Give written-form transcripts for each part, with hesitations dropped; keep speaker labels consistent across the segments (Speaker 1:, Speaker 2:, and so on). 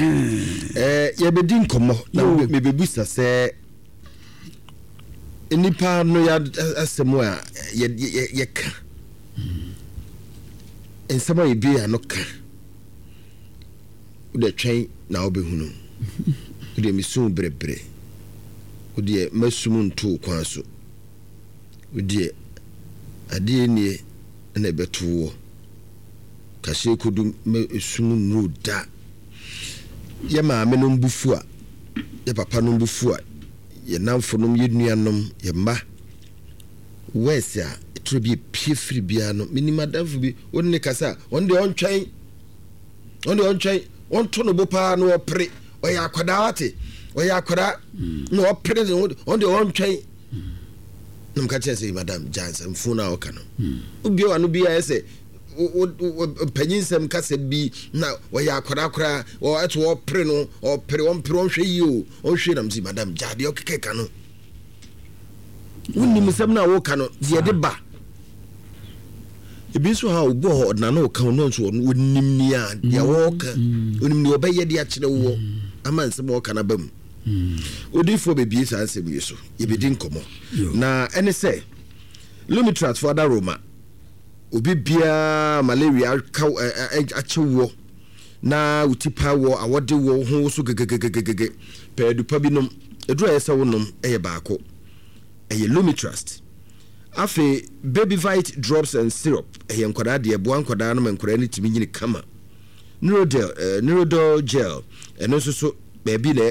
Speaker 1: Ɛɛ yɛbɛdi nkɔmmɔ na mebɛbusa sɛ nnipa no yɛ asɛm a yɛka nsɛm a yɛbie ano ka wode twɛn na wobɛhunu wodeɛ mesu brɛbrɛ wodeɛ masum ntoo kwan so wodeɛ adeɛ nie na ɛbɛto woɔ Kahyɛ kodu ma esum nnuru da. Yɛ maamenom bo fu a, yɛ papanom bo fu a, yɛ nnamfonom, yɛ nuanom, yɛ mma. Worse a, ɛtoro bi epie firi biara no, menim adamfo bi, wo ne ne kasa a, ɔno deɛ ɔntwɛn, ɔno deɛ ɔntwɛn, ɔnto no bo paa na ɔpere, ɔyɛ akwadaa wate, ɔyɛ akwadaa na ɔpere ne ho, ɔno deɛ ɔntwɛn. Na meka kyerɛ sɛ, madam, gya nsɛmfo no a ɔka no. Wobue w'ano bi a ɛsɛ mpanyinsɛm kasa bi na ɔyɛ akwadaa koraa ɛto ɔpere no ɔpere ɔmpere ɔnhwɛ yie o ɔnhwɛ nam si madam gya deɛ ɔkeka ka no wonim nsɛm no a woka no deɛ de ba ebi nso ha obi wɔ hɔ ɔdena no ɔka ɔno nso ɔno onim nea deɛ wɔka onim nea ɔbɛyɛ de akyerɛ woɔ ama nsɛm a ɔka no aba mu odiifoɔ bɛbie saa nsɛm yi so yɛbɛdi nkɔmmɔ na ɛne sɛ Lumitrat fo adaworoma, obi biara malaria aka akye woɔ na wo ti pae woɔ, awɔde woɔ, wo ho woso gegegegege, pɛ adu pa bi nom. Aduru a ɛyɛ sɛ wonom yɛ baako, ɛyɛ Lumitrust. Afei Babyvite drops and syrup, ɛyɛ nkwadaa deɛ, ɛboa nkwadaa no ma nkwadaa no tumi nyini kama. Neurodel, eh, Neurodol gel, ɛno nso so baabi na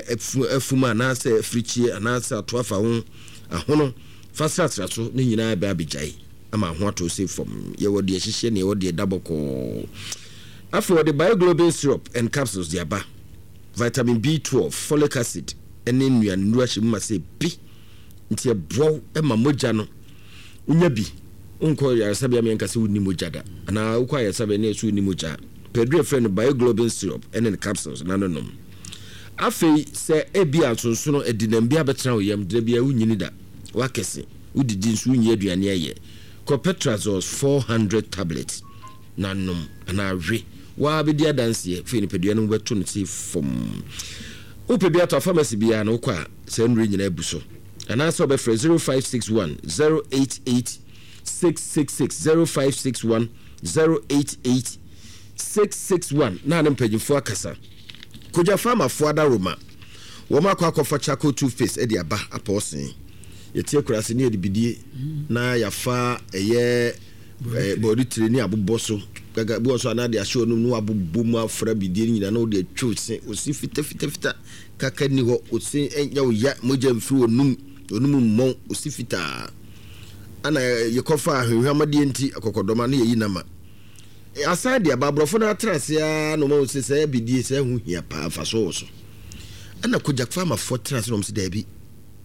Speaker 1: afum anaasɛ afirikyie anaasɛ ato afa ho ahono. Fa srasra so ne nyinaa bɛ abɛgyae ama ho atɔ se fam. Yɛwɔ deɛ ɛhyehyɛ ne yɛwɔ deɛ ɛda bɔkɔɔ. Afei wɔde Bioglobin syrup and capsules de aba. Vitamin B12, folic acid ne nnuanennuru ahyɛ mu ma sɛ bi nti ɛboa wo ma mogya no wonya bi. Wonkɔ ayaresabea ma yɛnka sɛ wonni mogya da anaa wokɔ ayaresabea na yɛsɛ wonni mogya a, pɛ aduru a yɛfrɛ no Bioglobin syrup ne ne capsules na no nom. Afei sɛ ebia nsonsono adinam bi abɛtena wo yam, da biara wunnyini da, woakɛse, wudidi nso wunyi aduane ayɛ, kɔ Petrazols 400 tablets na nom anaa we. Wo ara bedi adanseɛ, afei nipadua no mu bɛto no sei fɔmm. Wopɛ bi atɔ a, pharmacy biara no wokɔ a, saa nnuro yi nyinaa abu so. Anaasɛ wobɛfrɛ 0561 088 666, 0561 088 661 na ne mpanyinfoɔ akasa. Kogya Farmer foɔ adaworoma wɔn akɔ akɔfa charcoal toothpaste de aba apɔɔsen. Yɛte akuraase ne yɛde bidie na yafa ɛyɛ bɔɔde tire ne abobɔ so gaga bi wɔ so anaa de ahyɛ ɔnum na wabobɔ mu afra bidie no nyinaa na wode atwa ose ose fita fita fita kaka ni hɔ ose ɛnyɛ wo ya mogya mfiri ɔnum ɔnum mmɔn ose fitaa ana yɛkɔfa ahwehwamadeɛ nti akɔkɔdɔma ne yɛyi nama. Asan de aba, aborɔfo no atra ase ara na wɔahu sɛ saa bidie saa ho hia paa, mfasoɔ wɔ so. Ɛna Kojak Pharmafoɔ tena ase na wɔn sɛ daabi,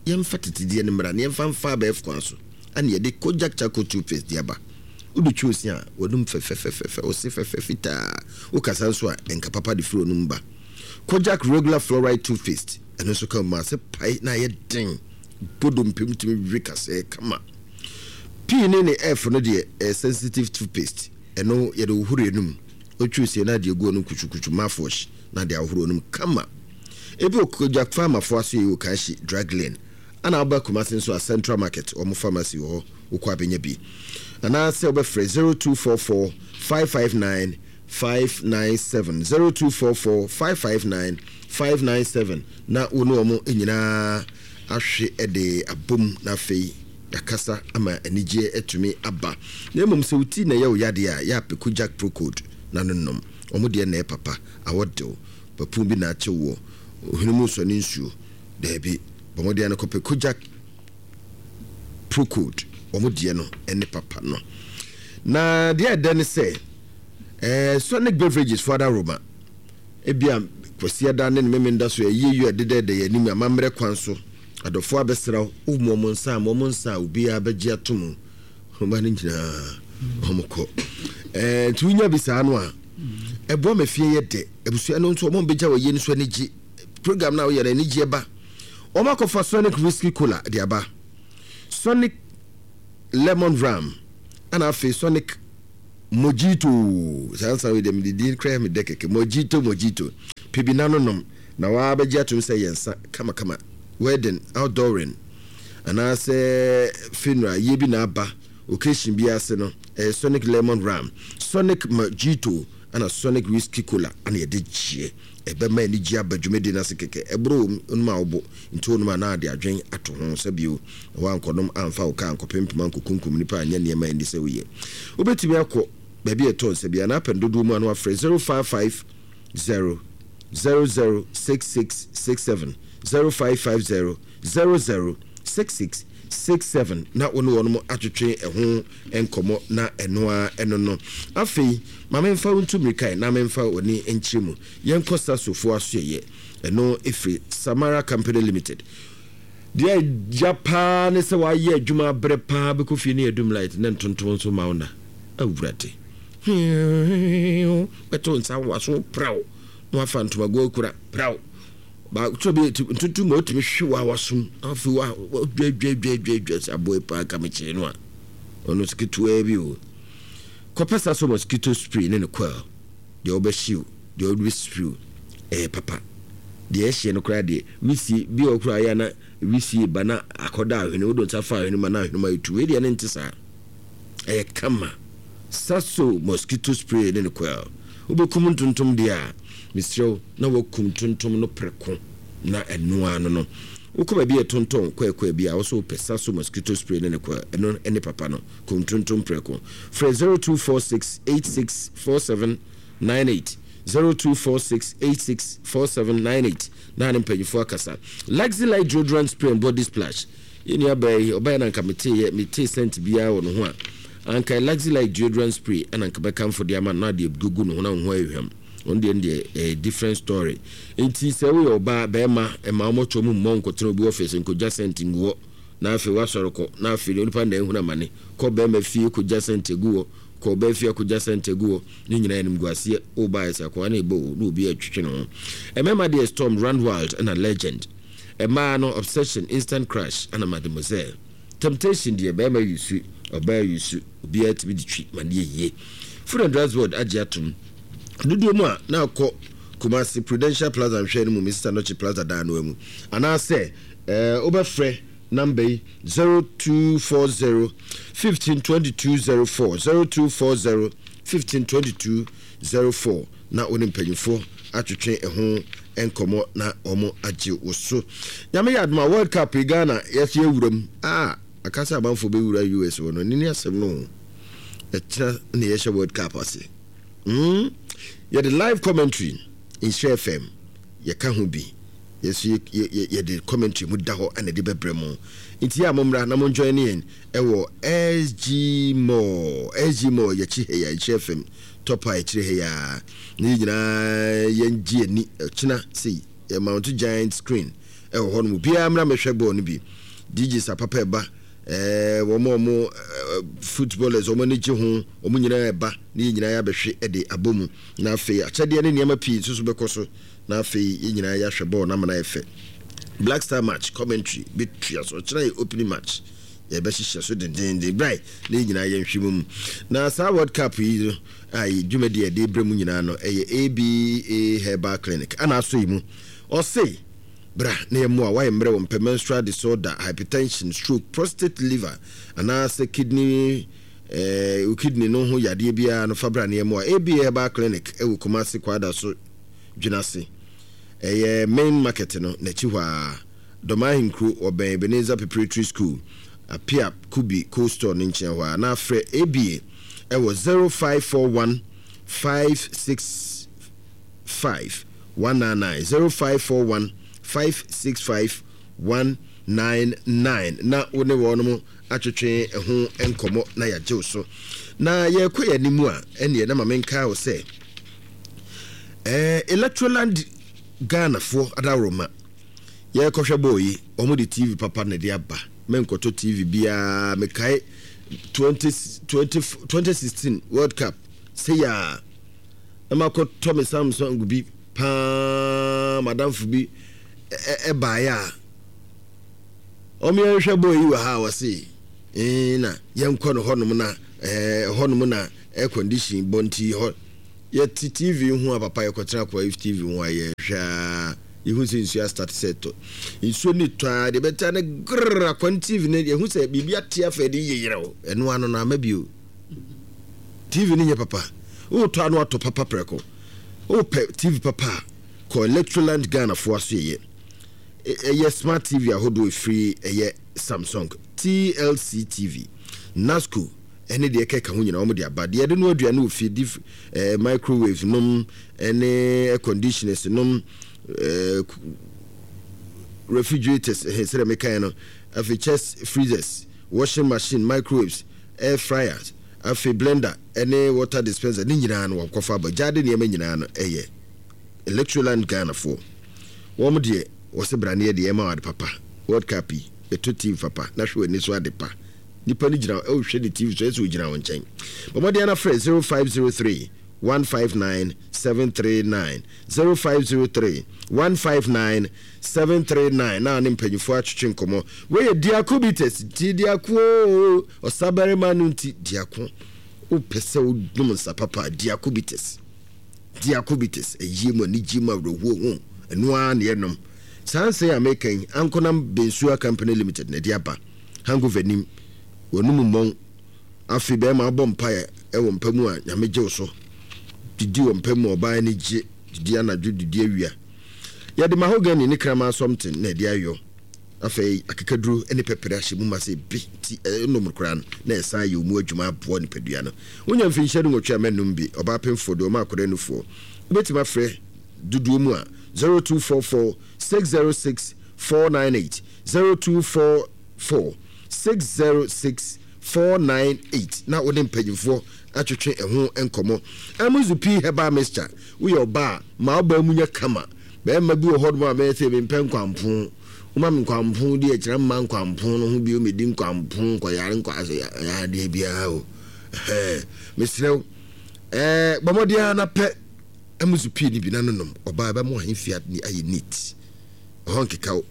Speaker 1: yɛmfa tetedeɛ no mmra na yɛmfa mfa abɛɛfo kwan so. Ɛna yɛde Kojak Charcoal Toothpaste de aba. Wode twi ose a, w'anum fɛfɛfɛfɛ, ose fɛfɛ fitaa. Wokasa nso a, nka papa de firi w'anum ba. Kojak Regular Fluoride Toothpaste, ɛno nso ka mu ase pae na ayɛ den. Bɔ dompe mu tumi we kasɛɛ kama. P ne ne F no deɛ ɛyɛ sensitive toothpaste. Ɛno yɛde hohoro anum. Wotwiw sie na ade agu anum kutukutu, mouthwash, na ade ahohoro anum kama. Ebi wɔ Kojak Pharma fo asoɛe wɔ Kanshi, Drug Lane. Ana woba Kumasi nso a Central Market wɔn pharmacy wɔ hɔ wokɔ a bɛnya bi. Anaasɛ wobɛfrɛ 0244 559 597, 0244 559 597 na wo ne wɔn nyinaa ahwe de abom na afei yɛakasa ama anigyeɛ atumi aba. Na mmom sɛ wo ti na ɛyɛ wo yadeɛ a, yɛ a pɛ Kojak Procold na no nom. Wɔn deɛ na ɛyɛ papa, awɔ de wo, papuo bi na akye woɔ, ohwene mu nsɔ ne nsuo, daabi, bɔ mmɔden ara na kɔpɛ Kojak Procold, wɔn deɛ no ne papa no. Na deɛ ɛdɛ ne sɛ, eh, Sonic Beverages fo adaworoma, ebia Kwasiada ne ne Memenda so ayie yɔ ɛdedɛɛdɛ yɛn anim amammerɛ kwan so. Adɔfoɔ abɛsra wo, wo ma wɔn nsa a, ma wɔn nsa a obiara bɛgye ato mu. Ɔma no nyinaa wɔn kɔ. Ɛɛ nti wonya bi saa no a, ɛboa ma fie yɛ dɛ. Abusua no nso wɔn bɛgya wɔ yie no so ani gye. Program no a woyɛ no anigyeɛ ba. Wɔn akɔfa Sonic Whiskey Cola de aba. Sonic Lemon Rum ɛna afei Sonic Mojito. Saa nsa wei deɛ mede din koraa yɛ me dɛ kɛkɛ. Mojito Mojito. Pɛ bi na no nom na waa bɛgye atom sɛ ɛyɛ nsa kamakama. Wedding, outdooring anaasɛ funeral yie bi na aba occasion bi ase no, ɛyɛ Sonic Lemon Rum, Sonic Mojito ɛna Sonic Whiskey Cola ɛna yɛde gyeɛ. Ɛbɛma anigye aba dwumadie no ase kɛkɛ. Ɛboro wom, wonom a wobo nti wonom a na ade adwen ato ho sɛ bio na woankɔnom amfa wo kaa ankɔpempem ankɔkunkum nnipa anyɛ nneɛma a ɛnni sɛ woyɛ. Wobɛtumi akɔ baabi a ɛtɔ nsa biara na apɛ no dodoɔ mu a na wafrɛ 0550 00 6667, 0550 00 6667 na wo ne wɔnom atwetwe ɛho nkɔmmɔ na ɛno ara ɛno no. Afei ma memfa wo ntu mmirika na memfa w'ani nkyerɛ mu. Yɛnkɔ Sasofoɔ asoɛeɛ. Ɛno ɛfiri Samara Company Limited. Deɛ ɛya paa ne sɛ wayɛ adwuma abrɛ paa bɛkɔ fie ne yɛdum light na ntontom nso ma wo na. Awurade. Bɛto nsa waso praw na wafa ntomago akura praw. Baako bi ntontom ma otumi hwe wa wasom afei wa dwadwadwadwadwa sɛ aboa paa ka mekyee no a ɔno nso ketewaa bi o. Kɔpɛ sa so mosquito spray ne ne coil. Deɛ wobɛhyew, deɛ wode bɛspray ɛyɛ papa. Deɛ ɛhyeɛ no koraa deɛ wisie bi wɔ koraa yɛ a na wisie ba na akɔda ahwene wode nsa fa ahwene ma na ahwene ma etu. Wei deɛ ne nte saa. Ɛyɛ kama. Saso mosquito spray ne ne coil. Wobɛkum ntontom deɛ a, mesrɛ wo na woakum ntontom no prɛko na ɛno ara no no. Wokɔ baabi a yɛtontɔn kɔɛkɔɛ bi a, wo nso wopɛ Saso mosquito spray ne ne coil, ɛno ne papa no. Kum ntontom prɛko. Frɛ 0246 86 47 98, 0246 86 47 98 na ne mpanyinfoɔ akasa. Luxy Light Deodorant Spray and Body Splash. Yɛn nua baa yi, ɔbaeɛ na anka meteeɛ, metee scent biara wɔ ne ho a, anka Luxy Light Deodorant Spray ɛna anka mɛkamfo de ama no na adeɛ gugu ne ho na ne ho ayɛ hwam. Ɔno deɛ no deɛ ɛyɛ different story. Nti sɛ woyɛ ɔbaa, bɛrima, mma wo mmɔtoɔ mu mmɔ nkɔtena obi office nkɔgya scent ngu hɔ na afei woasɔre kɔ na afei deɛ onipa na ahunu amane. Kɔ bɛrima fie kɔgya scent agu hɔ, kɔ ɔbaa fie akɔgya scent agu hɔ, ne nyinaa animguaseɛ. Woba ayɛ sɛ akoa na ɛbɔ o, na obi retwetwe ne ho. Mmarima deɛ Storm, Run Wild ɛna Legend. Mmaa no obsession, instant crush ɛna mademoiselle. Temptation deɛ barima yusu, ɔbaa yusu, obiara tumi de twi ma no yɛ yie. Food and Drugs Board agye atom. Dodoɔ mu a na akɔ Kumasi Prudential Plaza nhwɛɛ no mu Mrs Anokye Plaza dan no mu. Anaasɛ eh, wobɛfrɛ namba yi 0240 15 22 04, 0240 15 22 04 na wo ne mpanyimfoɔ atwetwe ɛho nkɔmmɔ na wɔn agye wo so. Nyame yɛ adom a World Cup yi Ghana yɛso yɛwura mu. Ah, aka sɛ amanfoɔ bɛwura US wɔ no, ɛno ne asɛm no o. Ɛkyena na yɛhyɛ World Cup ase. Mm, yɛde live commentary, Nhyira FM, yɛka ho bi. Yɛso yɛde commentary mu da hɔ na ɛde bɛbrɛ mo. Nti yɛ a mommra na monjoin yɛn ɛwɔ SG Mall, SG Mall yɛkyi ha yi a, Nhyira FM. Top a ɛkyerɛ ha yi ara na yɛn nyinaa yɛn gye ani ɔkyena sei yɛ mount giant screen ɛwɔ hɔ nom obiara mmra mɛhwɛ bɔɔl no bi DJs apapa ɛba ɛɛ wɔn a wɔn footballers wɔn ani gye ho wɔn nyinaa ɛba na yɛn nyinaa yɛabɛhwe ɛde abɔ mu na afei akyɛdeɛ ne nneɛma pii nso so bɛkɔ so na afei yɛn nyinaa yɛahwɛ bɔɔl no ama no ayɛ fɛ Black Star match commentary bɛtua so ɔkyena yɛ opening match yɛbɛhyehyɛ so dendeenden brae na yɛn nyinaa yɛnhwɛ mu mu. Na saa World Cup yi no a dwumadi a yɛde brɛ mu nyinaa no ɛyɛ ABA Herbal Clinic ana asɔ yi mu. Ɔse bra na yɛmmoa woayɛ mmerɛ wo mpɛ menstrual disorder, hypertension, stroke, prostate, liver anaasɛ kidney eh, wo kidney no ho yadeɛ biara no fa bra na yɛmmoa. ABA Herbal Clinic ɛwɔ Kumasi Kwadaso Dwenase ɛyɛ main market no n'akyi hɔ ara. Dɔm Ahenkuro, wɔbɛn Ebenezer Preparatory School, Apia Kubi Cold Store no nkyɛn hɔ ara, na frɛ ABA wɔ 0541 565 199, 0541 565 199, na wo ne wɔnom atwetwe ho nkɔmmɔ na yɛagye wo so. Na yɛrekɔ yɛn anim a, ɛnneɛ na ma menkae wo sɛ, eh, Electroland Ghanafoɔ adaworoma, Yɛrekɔhwɛ bɔɔl yi, wɔn de TV papa na ɛde aba. Menkɔtɔ TV biara. Mekae 20, 20, 2016 World Cup sɛ yɛ a na makɔtɔ me Samsung bi paa madamfo bi ɛbaeɛ a wɔn yɛnhwɛ bɔɔl yi wɔ ha a wɔse ee na yɛnkɔ no hɔnom na ɛɛ hɔnom na air condition bɔ nti hɔ. Yɛte TV ho a papa yɛkɔtena akoa TV ho a yɛhwɛ a yɛhu sɛ nsuo astate sɛ ɛtɔ. Nsuo no tɔ a deɛ bɛta ne grrr akoa no TV no yɛhu sɛ biribi ate afa ɛde yeyerɛw ɛno ano no ama bio. TV no nyɛ papa. Wotɔ ano atɔ papa prɛko. Wopɛ TV papa a kɔ Electroland Ghana foɔ aso yɛyɛ. Ɛyɛ smart TV ahodoɔ ɛfiri ɛyɛ Samsung, TLC TV, Nasco ɛne deɛ ɛkeka ho nyinaa wɔn de aba. Deɛ yɛde noa aduane wɔ fie, deep eh, microwaves nom ɛne air conditioners nom eh, refrigerators eh, sɛdeɛ mekaeɛ no, afei chest freezers, washing machine, microwaves, air fryers, afei blender ɛne water dispenser ne nyinaa no wɔakɔfa aba. Gyaade nneɛma nyinaa no ɛyɛ Electroland Ghanafoɔ. Wɔn deɛ wɔse bra ne yɛ deɛ ɛma wo ade papa. World Cup yi, bɛtɔ team papa na hwɛ w'ani so ade pa. Nipa no gyina hɔ rehwɛ ne TV so, ɛsɛ sɛ ogyina wo nkyɛn. Bɔ mmɔden ara frɛ 0503 159 739, 0503 159 739 na ne mpanyinfoɔ atwetwe nkɔmmɔ. Wei yɛ Diako Bitters, nti Diako oo, ɔsabarima no nti Diako. Wopɛ sɛ wonom nsa papa a, Diako Bitters. Diakobites, ayie mu anigye mu awerɛhoɔ ho, ɛno ara na yɛnom. Saa nsa yi a meka yi, Ankonam Bensua Company Limited na ɛde aba. Hangover nnim, w'anum mmɔn. Afei bɛrima wobɔ mpaeɛ wɔ mpa mu a, Nyame gye wo so. Didi wɔ mpa mu a, ɔbaa ani gye. Didi anadwo, didi awia. Yɛde mahogany ne kraman something na ɛde ayɔ. Afei akekaduro ne pɛprɛ ahyɛ mu ma sɛ bi nti ɛnom koraa no na ɛsan yɛ ɔmu adwuma aboa nipadua no. Wonya mfinhyia dunwɔtwe a mɛnnom bi, ɔbaa pemfoɔ deɛ ɔma akwadaa nufoɔ. Wobɛtumi afrɛ dodoɔ mu a 0244 606 498, 0244 606 498 na wo ne mpanyimfoɔ atwetwe ɛho nkɔmmɔ. Amuzu Pii Herbal Mixture, Woyɛ ɔbaa a, ma wo baa mu nyɛ kama. Barima bi wɔ hɔnom a bɛyɛ sɛ mempɛ nkwampo. Woma me nkwampo di akyire a mma nkwampo no ho bio medi nkwampo nkɔyare nkɔadeɛ biara o. Ɛhɛn, mesrɛ wo, ɛɛ bɔ mmɔden ara na pɛ Amuzu Pii no bi na nonom. Ɔbaa ɛbɛma w'ahemfie ayɛ neat. Ɛhɔ nkeka wo.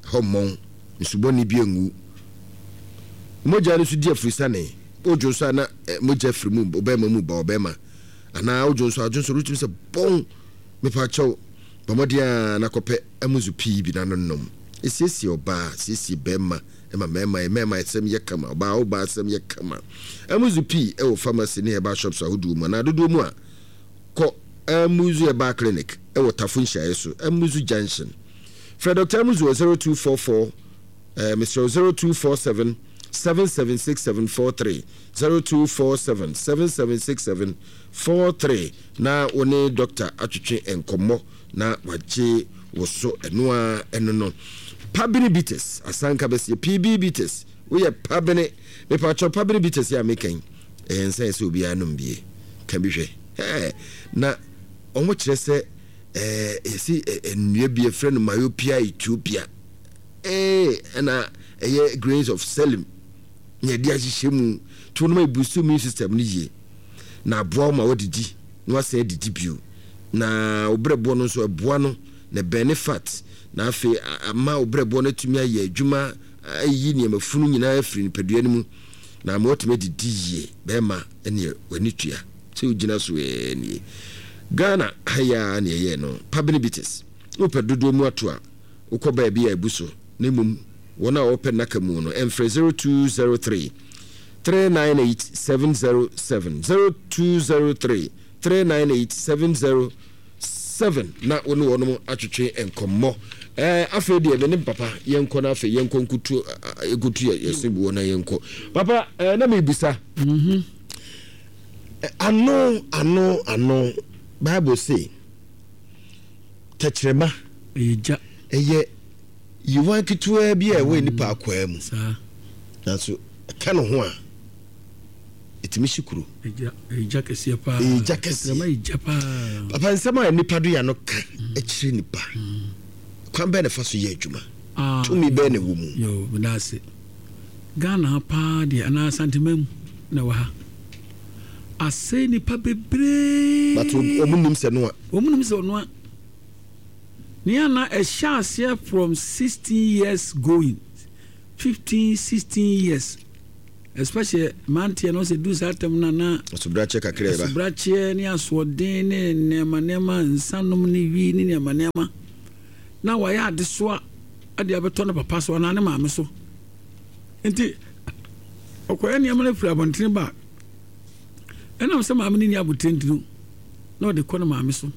Speaker 1: Ɛhɔ mmɔn, nsu bɔne bi angu. Mogya no nso di afurisane. Wodwo nso a na mogya firi mu, ɔbarima mu ba ɔbarima. Anaa wodwo nso a, wodwo nso wotumi sɛ bɔn. Mepa kyɛw, bɔ mmɔden ara na kɔpɛ amuzu pii bi na nonom. Esiesie ɔbaa, siesie barima, ɛma mmarima mmarima asɛm yɛ kama, ɔbaa ɔbaa asɛm yɛ kama. Amuzu pii wɔ pharmacy ne herbal shops ahodoɔ mu anaa dodoɔ mu a, kɔ Amuzu Herbal Clinic wɔ Tafo nhyiaeɛ so, Amuzu Junction. Frɛ Dɔkta Amuzu wɔ 0244, eh, mesrɛ wo, 0247 776743, 0247 776743 na wo ne dɔkta atwetwe nkɔmmɔ na wagye wo so. Ɛno ara ɛno no. Pabene Bitters, asanka bɛseɛ, PB Bitters, woyɛ pabene, mepakyɛw pabene bitters yi a meka yi, ɛyɛ nsa yɛ sɛ obiara nom bie. Ka bi hwɛ. Hɛɛ, na wɔn kyerɛ sɛ ɛɛ yɛsi nnua bi yɛfrɛ no myopia ethiopia ee ɛna ɛyɛ grains of selim na yɛde ahyehyɛ mu to no ma ebusu immune system no yie na aboa wo ma wadidi na wasan adidi bio na wo brɛboɔ no nso ɛboa no na ɛbɛn ne fat na afei ama wo brɛboɔ no atumi ayɛ adwuma ayi nneɛma funu nyinaa afiri nipadua no mu na ama watumi adidi yie bɛrima ɛneɛ w'ani tua Sɛ wogyina so ɛɛ nie. Ghana ha yi ara na yɛyɛɛ no. Pabene Bitters. Wopɛ dodoɔ mu ato a, wokɔ baabi a abu so na mmom wɔn a wɔpɛ nnaka mu no mfrɛ 0203 398 707, 0203 398 707 na wo ne wɔnom atwetwe nkɔmmɔ. Ɛɛ afei deɛ me ne papa yɛnkɔ na afei yɛnkɔ nkutu yɛnkɔtu yɛse buo na yɛnkɔ. Papa ɛɛ na mebisa. Mm-hmm. Ano, ano, ano. Bible se, tɛkyerɛma
Speaker 2: ɛyɛ gya.
Speaker 1: Ɛyɛ yiwan ketewaa bi a ɛwɔ mm, nipa akwaa mu. Nanso ɛka ne ho a, ɛtumi hye kuro.
Speaker 2: Ɛyɛ gya kɛseɛ paa.
Speaker 1: Ɛyɛ gya kɛseɛ.
Speaker 2: Tɛkyerɛma yɛ gya paa.
Speaker 1: Papa nsɛm a nipa do ya no ka mm. kyerɛ nipa. Mm. Kwan bɛn na ɛfa so yɛ adwuma? Ah, Tumi bɛn na ɛwɔ mu?
Speaker 2: Yo, meda ase. Ghana ha paa deɛ anaa Asanteman mu na ɛwɔ ha. Asɛe nipa bebree.
Speaker 1: But wɔn nim sɛ noa.
Speaker 2: Wɔn nim sɛ ɔnoa. Nea na ɛhyɛ aseɛ from 16 years going, 15, 16 years. Especially mmeranteɛ no sɛ du saa tam no a na
Speaker 1: asobrakyeɛ kakra ɛba.
Speaker 2: Asobrakyeɛ ne asoɔden ne nneɛma nneɛma nsanom ne wi ne nneɛma nneɛma na wayɛ adesoa de abɛtɔ ne papa so anaa ne maame so. Nti ɔkɔyɛ nneɛma no firi abɔntene ba a ɛnam sɛ maame no nni abotire nti no na ɔde kɔ ne maame so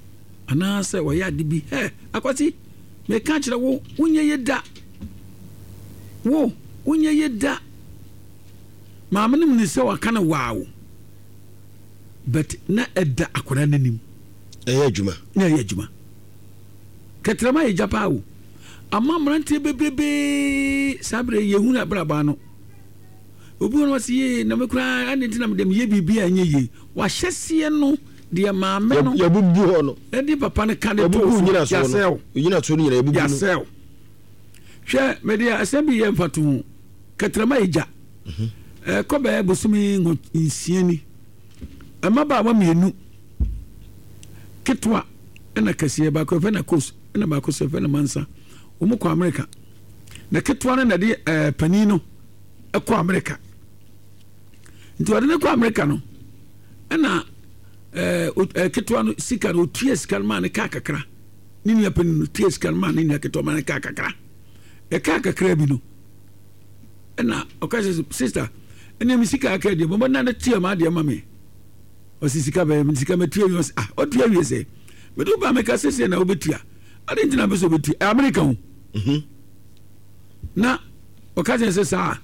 Speaker 2: anaasɛ ɔyɛ ade bi hɛ akwasi meka kyerɛ wo wonyɛ ye da wo wonyɛ ye da. Maame no nim sɛ waka no waaw but na ɛda akwadaa no anim.
Speaker 1: Ɛyɛ adwuma.
Speaker 2: Na ɛyɛ adwuma. Kɛtrɛma yɛ gya paa o. Ama mmeranteɛ bebrebee saa berɛ yɛhunu abrabɔ ano. Obi wɔ no ɔse yee na me koraa ade nti na mede meyɛ biribi a ɛnyɛ yie. Wahyɛseɛ no deɛ maame no
Speaker 1: yɛbubu hɔ no
Speaker 2: ɛde papa no ka de too so yɛasɛe
Speaker 1: nyinasoɔ no nyina yɛbubu no
Speaker 2: yɛasɛe. Hwɛ mede asɛm bi yɛ mfatoho. Kɛtrɛma yɛ gya. Ɛkɔ bɛyɛ bosome nsia ni. Mmabaawa mmienu, ketewa ɛna kɛseɛ, baako yɛfrɛ no Akos ɛna baako nso yɛfrɛ no Mansa. Wɔn kɔ Amerika. Na ketewa no na ɛde ɛɛ panin no ɛkɔ Amerika. Nti ɔde no kɔ Amerika no ɛna ɛɛ ketewa no sika no otua sika no maa ne kaa kakra. Ne nua panin no tua sika no maa ne nua ketewa maa ne kaa kakra. Ɛkaa kakra bi no. Ɛna ɔka sɛ sista ɛnna mi sika aka deɛ bɔbɔ na ne tua ma adeɛ ma mi ɔsi sika bɛyɛ mi sika mɛ tua wie ɔsi ah ɔtua wie sɛ mɛ de ba mɛ ka sese na ɔbɛtua adi ntina bɛ sɛ ɔbɛtua ɛ Amerika ho mhm. Na ɔka kyerɛ sɛ saa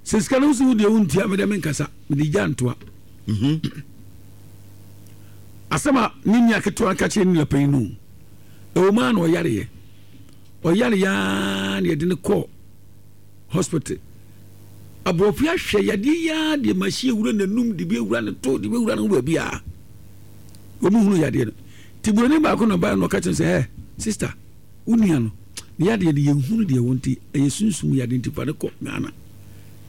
Speaker 2: sɛ sika no nso deɛ wontua mɛ deɛ mi nkasa mɛ de gya ntoa mhm. Asɛm a ne nua ketewa ka kyerɛ ne nua panyin no ɛwɔ mu a na ɔyareɛ ɔyareɛ aa na yɛde no kɔɔ hospital. Aborɔfo yi ahwɛ yadeɛ yi ara deɛ machine awura n'anum de bi awura ne to de bi awura ne ho baabi a wɔn hunu yadeɛ no. Ti buroni baako na ɔbaa na ɔka kyerɛ sɛ ɛ sista wo nua no ne yadeɛ no yɛn hunu deɛ wɔn ti ɛyɛ sunsum yadeɛ nti fa ne kɔ Ghana.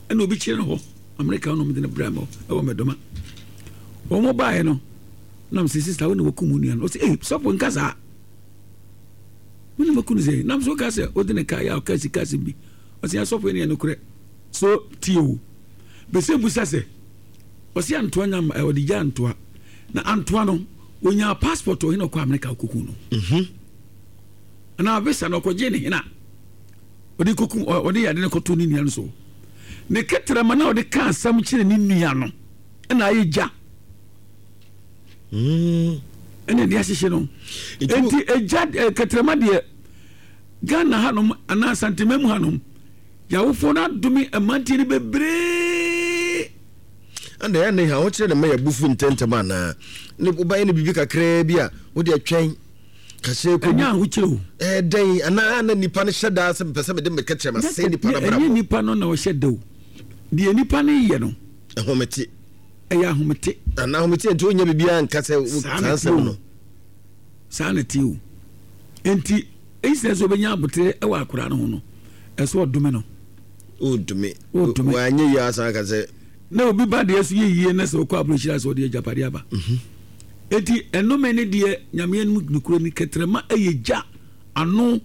Speaker 2: Ɛna obi kyerɛ no hɔ Amerika na wɔn de no brɛ mɔ ɛwɔ mɛdɔma. Wɔn baeɛ no nam sɛ sista wo na wɔkum wo nua no ɔsɛ ee sɔfo nka saa. Me na maku no sɛ nam so ka sɛ wode ne kaa yɛ a ɔka sika asɛm bi ɔsɛ asɔfo yi ne nokorɛ so tie o bɛsɛ busa sɛ ɔsɛ antoa nya ɔde gya antoa na antoa no onyaa passport ɔhene ɔkɔ Amerika ɔkɔku no mhm. anaa visa na ɔkɔgye ne hena ɔde kɔku ɔde yade no kɔto ne nua no so ne kɛtrɛma na ɔde ka asɛm kyerɛ ne nua no ɛna ayɛ gya
Speaker 1: Mm.
Speaker 2: Ɛna ɛde ahyehye no. Enti egya eh, kɛtrɛma deɛ Ghana hanom anaa Asantema mu hanom yɛawofoɔ no adome mmeranteɛ no bebree.
Speaker 1: Ɛna ɛyɛ ne ha wokyerɛ ne ma yɛ abufu ntɛntɛm anaa ne wobɛyɛ no biribi kakraa bi a wode atwɛn kahyɛ kɔ
Speaker 2: ɛnyɛ ahokyerɛ o
Speaker 1: ɛdɛn anaa na nipa no hyɛ daa sɛ mepɛ sɛ mede me kɛtrɛma sɛ nipa no brabɔ
Speaker 2: ɛnyɛ nipa no na ɔhyɛ da o deɛ nipa no yɛ no
Speaker 1: ɛhomete
Speaker 2: Ɛyɛ ahomete.
Speaker 1: Ana ahomete nti wonyɛ biribiara nka sɛ saa nsɛm no.
Speaker 2: Saa na ɛte o. Nti instead sɛ ɔbɛnya abotere wɔ akwadaa no ho no, ɛsɛ ɔdome no.
Speaker 1: Ɔdome. Ɔdome. Wanyɛ yie asan aka sɛ.
Speaker 2: Na obi ba deɛ so yɛ yie na sɛ ɔkɔ aburokyire asɛ ɔde agyapadeɛ aba. Mhm. Eti ɛnome ne deɛ nyame anim nokura ni kɛtrɛma ɛyɛ gya ano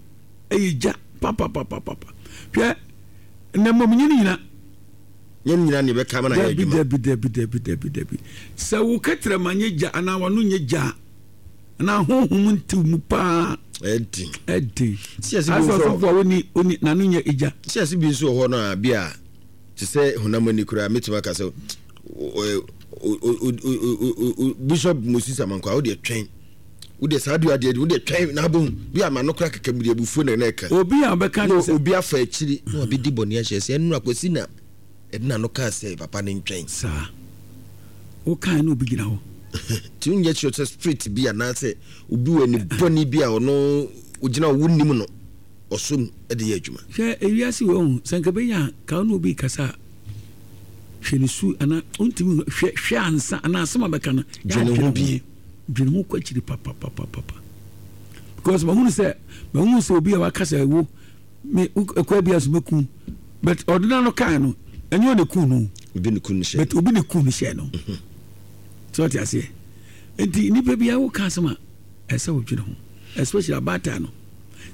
Speaker 2: ɛyɛ gya papapapapa. Hwɛ na mmom nyɛ ne nyina.
Speaker 1: Nyɛ ne nyinaa na yɛbɛka ama no ayɛ adwuma.
Speaker 2: Dabi, dabi, dabi, dabi, dabi. Sɛ wo kɛtrɛma nyɛ gya anaa w'ano nyɛ gya a, anaa honhom ntew mu paa.
Speaker 1: Ɛden.
Speaker 2: Ɛden. Asɛ ɔsɔfo a woni woni n'ano nyɛ egya.
Speaker 1: Si ase bi nso wɔ hɔ no a bi a te sɛ honam ani koraa mɛtumi aka sɛ Bishop Moses Amankwa wo deɛ twɛn wo deɛ saa dua deɛ wo deɛ twɛn na abom bi a ma no koraa kɛkɛ mede abufuo na ɛna ɛka
Speaker 2: obi a ɔbɛka
Speaker 1: na obi afa akyiri na wabɛdi bɔne ahyɛ sɛ ɛno akwasi na ɛde n'ano kaa sɛ papa no ntwɛn
Speaker 2: saa wokae na obi gyina hɔ
Speaker 1: nti wonyɛ kyerɛ sɛ spirit bi anaasɛ obi wɔ ani bɔne bi a ɔno ogyina hɔ wonim no ɔsom de yɛ adwuma
Speaker 2: hwɛ ewiase wɔ hu sɛ nka bɛnya ka wo ne obi kasa a hwɛ ne su anaa wontumi hwɛ hwɛ ansa anaa asɛm a bɛka no
Speaker 1: dwene ho bi
Speaker 2: dwene ho kɔ akyiri papapapapa because mahunu sɛ mahunu sɛ obi a waka sɛ wo me ɛkɔ bi aso mɛku but ɔde n'ano kae no ɛnyɛ ɔne ku no
Speaker 1: obi ne ku no hyɛ
Speaker 2: but obi ne ku no hyɛ no mhm. sɛ ɔte aseɛ nti nipa bi a woka asɛm a ɛsɛ wodwene ho especially abaatan no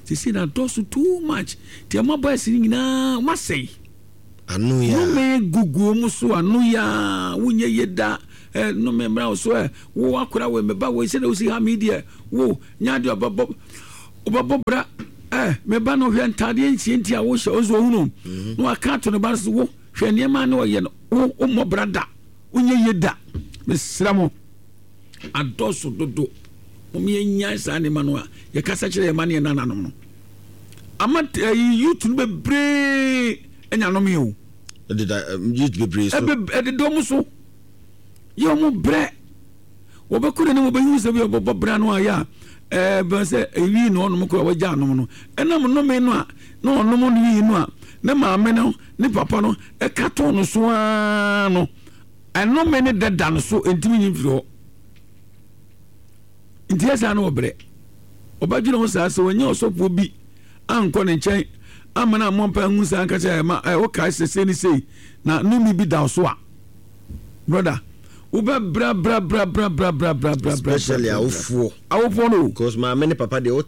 Speaker 2: sisi na dɔso too much nti ɛma boys no nyinaa wɔasɛe.
Speaker 1: Ano yi a.
Speaker 2: Nnome gugu wɔn so ano yi a wonyɛ yie da. Ɛ nnome mmra wo so ɛ wo akora wei me ba wei sɛdeɛ wosi ha me deɛ wo nyɛ adeɛ ɔbɛbɔ ɔbɛbɔ bra ɛ me ba no hwɛ ntaadeɛ nsie nti a wohyɛ ɔnso ohunu mhm. na waka ato ne ba no so wo hwɛ nneɛma ne ɔyɛ no wo wommɔ bra da wonyɛ yie da mesrɛ mo adɔso dodo wɔn yɛ nyan saa nneɛma no a yɛkasa kyerɛ yɛn ma ne yɛn nananom no ama ɛyi youth no bebree ɛnya nom yɛ o.
Speaker 1: Ɛdeda youth bebree so.
Speaker 2: Ɛdeda wɔn so yɛ wɔn brɛ wɔbɛkɔ n'anim wɔbɛhu sɛ bi wɔbɛbɔ bra no ayɛ a ɛɛ bɛn sɛ ewi na ɔnom kora wɔgya anom no ɛnam nnome no a na ɔnom no wi no a ne maame no ne papa no ɛka to no so ara no ɛnome ne dada no so ntumi nyi mfiri hɔ nti ɛsaa no wɔbrɛ ɔbɛdwene ho saa sɛ wɔnyɛ ɔsɔfoɔ bi ankɔ ne nkyɛn amma no ammɔ mpae anhu saa anka sɛ ɛma ɛ wokae sɛ sei ne sei na nnome bi da wo so a brother wobɛ bra bra bra bra bra bra bra bra bra
Speaker 1: especially awofoɔ
Speaker 2: awofoɔ no
Speaker 1: because maame ne papa deɛ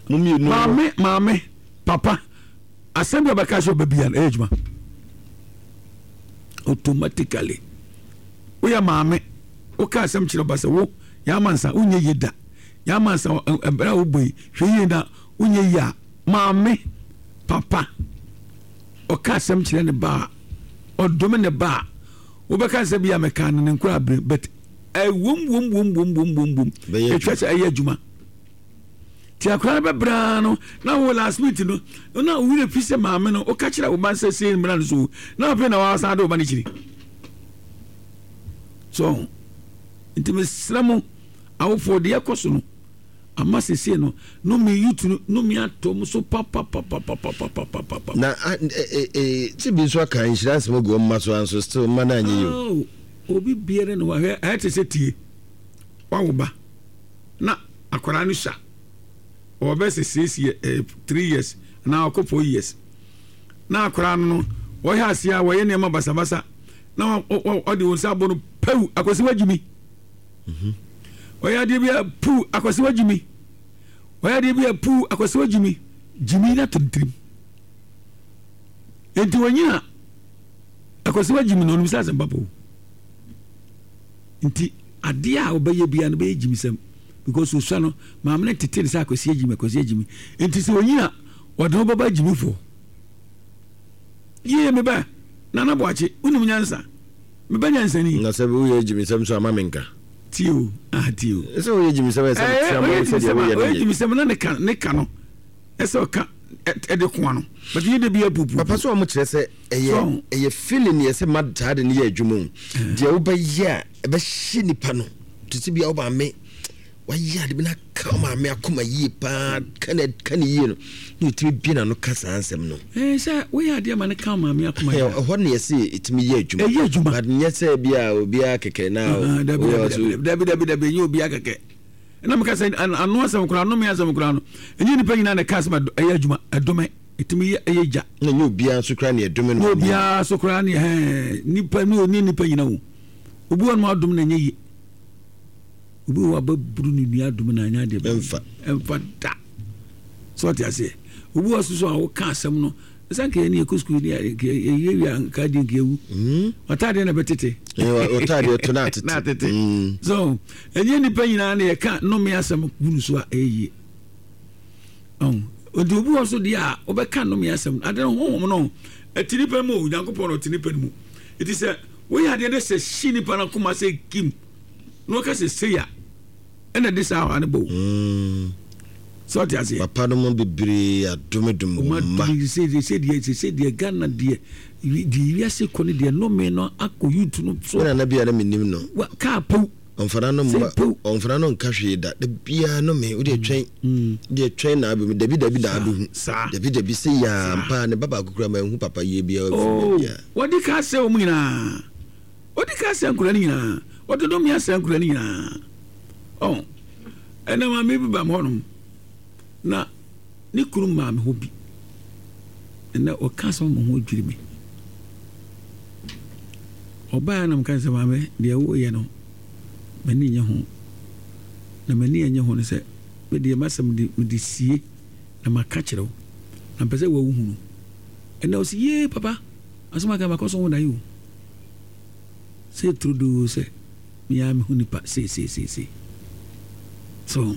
Speaker 1: mo mmienu
Speaker 2: maame maame papa asɛm bi a ɔbɛka sɛ ɔbɛbia no ɛyɛ adwuma automatically woyɛ maame woka asɛm kyerɛ ɔba sɛ wo yɛ amansa wonyɛ yie da yɛ amansa ɛberɛ a wobɔ yi hwɛ yie na Wonyɛ yie a, maame, papa, ɔka asɛm kyerɛ ne ba a, ɔdome ne ba a, wobɛka sɛ bi a mɛka no ne nkora abere but ɛwom wom wom wom wom wom wom ɛtwa sɛ ɛyɛ adwuma ti akora no bɛbraa no na wo last minute no na wo werɛ fi sɛ maame no woka kyerɛ wo ba sɛ sei mmra no so na afei na wasan de wo ba no kyiri so nti mesrɛ mo awofoɔ deɛ ɛkɔ so no Ama sesei no no me youth no no me atɔ mu so papapapapapapapapa.
Speaker 1: Na eh ti bi nso aka nhyira nsɛm agu wɔn mma so anso still mma no anyɛ yie o.
Speaker 2: Oh, obi biara na wahwɛ ayɛ te sɛ tie wawo ba na akwadaa no sua ɔwɔ bɛ sɛ six years eh, 3 years anaa ɔkɔ 4 years na akwadaa no no wɔyɛ aseɛ a wɔyɛ nneɛma basabasa na ɔde wɔn nsa abɔ no pɛw akwasi wagyi mi. Ɔyɛ adeɛ bi a puu akwasi wa gyimi. Ɔyɛ adeɛ bi a puu akwasi wa gyimi. Gyimi na to ne tirim. Nti wɔnyina akwasi wa gyimi na ɔnim sɛ asɛm papa o. Nti adeɛ a ɔbɛyɛ bia no bɛyɛ gyimisɛm because osua no maame no tete ne sɛ akwasi agyimi akwasi agyimi. Nti sɛ ɔnyina ɔde ho bɛba gyimifoɔ. Yie me ba Nana Boakye wonim nyansa. Mebɛ nyansani.
Speaker 1: Na sɛ woyɛ gyimisɛm nso a ma menka.
Speaker 2: Tie o, ah tie o.
Speaker 1: Sɛ woyɛ gyimisɛm a ɛsɛ metra ma wo sɛdeɛ woyɛ no
Speaker 2: yɛ. Ɔyɛ gyimisɛm na ne ka ne ka no ɛsɛ ɔka ɛde koa no but yɛ de bi apupu.
Speaker 1: Papa so wɔn kyerɛ sɛ ɛyɛ ɛyɛ feeling yɛ sɛ ma saa de no yɛ adwuma o. Deɛ wobɛyɛ a ɛbɛhyɛ nipa no te sɛ bi a wo maame wayɛ ade bi na ka maame akoma yie paa ka ne ka ne yie no na ɔtumi bie n'ano ka saa nsɛm no.
Speaker 2: Ɛɛ sɛ woyɛ adeɛ ma no ka maame akoma yie.
Speaker 1: Ɛhɔ na yɛsɛ ɛtumi yɛ adwuma.
Speaker 2: Ɛyɛ adwuma.
Speaker 1: But nyɛ sɛ bi a obiara kɛkɛ na.
Speaker 2: Dabi dabi dabi dabi dabi ɛnyɛ obiara kɛkɛ. Ɛna meka sɛ ano asɛm koraa anome asɛm koraa no ɛnyɛ nipa nyinaa na ɛka asɛm ɛyɛ adwuma ɛdome ɛtumi yɛ ɛyɛ gya.
Speaker 1: Na ɛnyɛ obiara nso koraa na ɛdome no.
Speaker 2: Na obiara nso koraa ne ɛhɛn nipa ne nipa nyina o. Obi wɔ no adom na ɛnyɛ yie. Obi wɔ hɔ a bɛburu ne nua adom na anyɛ adeɛ
Speaker 1: ɛmfa
Speaker 2: ɛmfa da sɛ ɔte aseɛ obi wɔ soso a woka asɛm no ɛsɛ nka yɛne yɛkɔ sukuu ne yɛwie wie a nka deɛ nka yɛwu hmm. ɔtaadeɛ na bɛtete
Speaker 1: ɔtaadeɛ to na atete
Speaker 2: na atete hmm. so ɛnyɛ nnipa nyinaa na yɛka nnome asɛm gu no so a ɛyɛ yie nti obi wɔ so deɛ a wobɛka nnome asɛm ade no honhom no ɛte nipa mu o Nyankopɔn na ɔte nipa no mu ɛti sɛ woyɛ adeɛ no sɛ hye nipa no akoma sɛ kim na ɔka sɛ sei a ɛna de saa ɔha no bɔ o mm. sɛ ɔte aseɛ
Speaker 1: papa no mu bebree adomedom wɔn mma
Speaker 2: sɛ deɛ deɛ Ghana deɛ deɛ wiase kɔ no deɛ nnome no akɔ youth no so
Speaker 1: nana bi a na menim no
Speaker 2: kaa pow
Speaker 1: ɔmfana no mma ɔmfana no nka hwee da da biara no me wode twɛn mm. deɛ twɛn na abɛmu dabi dabi na abɛhu dabi dabi sɛ yaa mpa ne ba baako kura ma ɛhu papa yie biara
Speaker 2: oh, wɔde ka sɛ wɔn nyinaa Ɔdi kan sɛe nkwadaa no nyinaa. Ɔde nnome asɛe nkwadaa no nyinaa. Ɔn, ɛnna maame bi ba me hɔnom, na ne kunu maa me hɔ bi. Ɛnna ɔka asɛm ma ho dwiri me. Ɔbaa na meka sɛ maame, deɛ woyɛ no, m'ani nye ho. Na m'ani annye ho no sɛ, me deɛ m'asɛm de mede sie na maka kyerɛ wo. Na mpɛ sɛ wohunu. Ɛnna ɔsi yee papa. Asɛm aka makɔ so ho da yi o. Sɛ turodoo sɛ mea mehu nipa seeseeseesei. So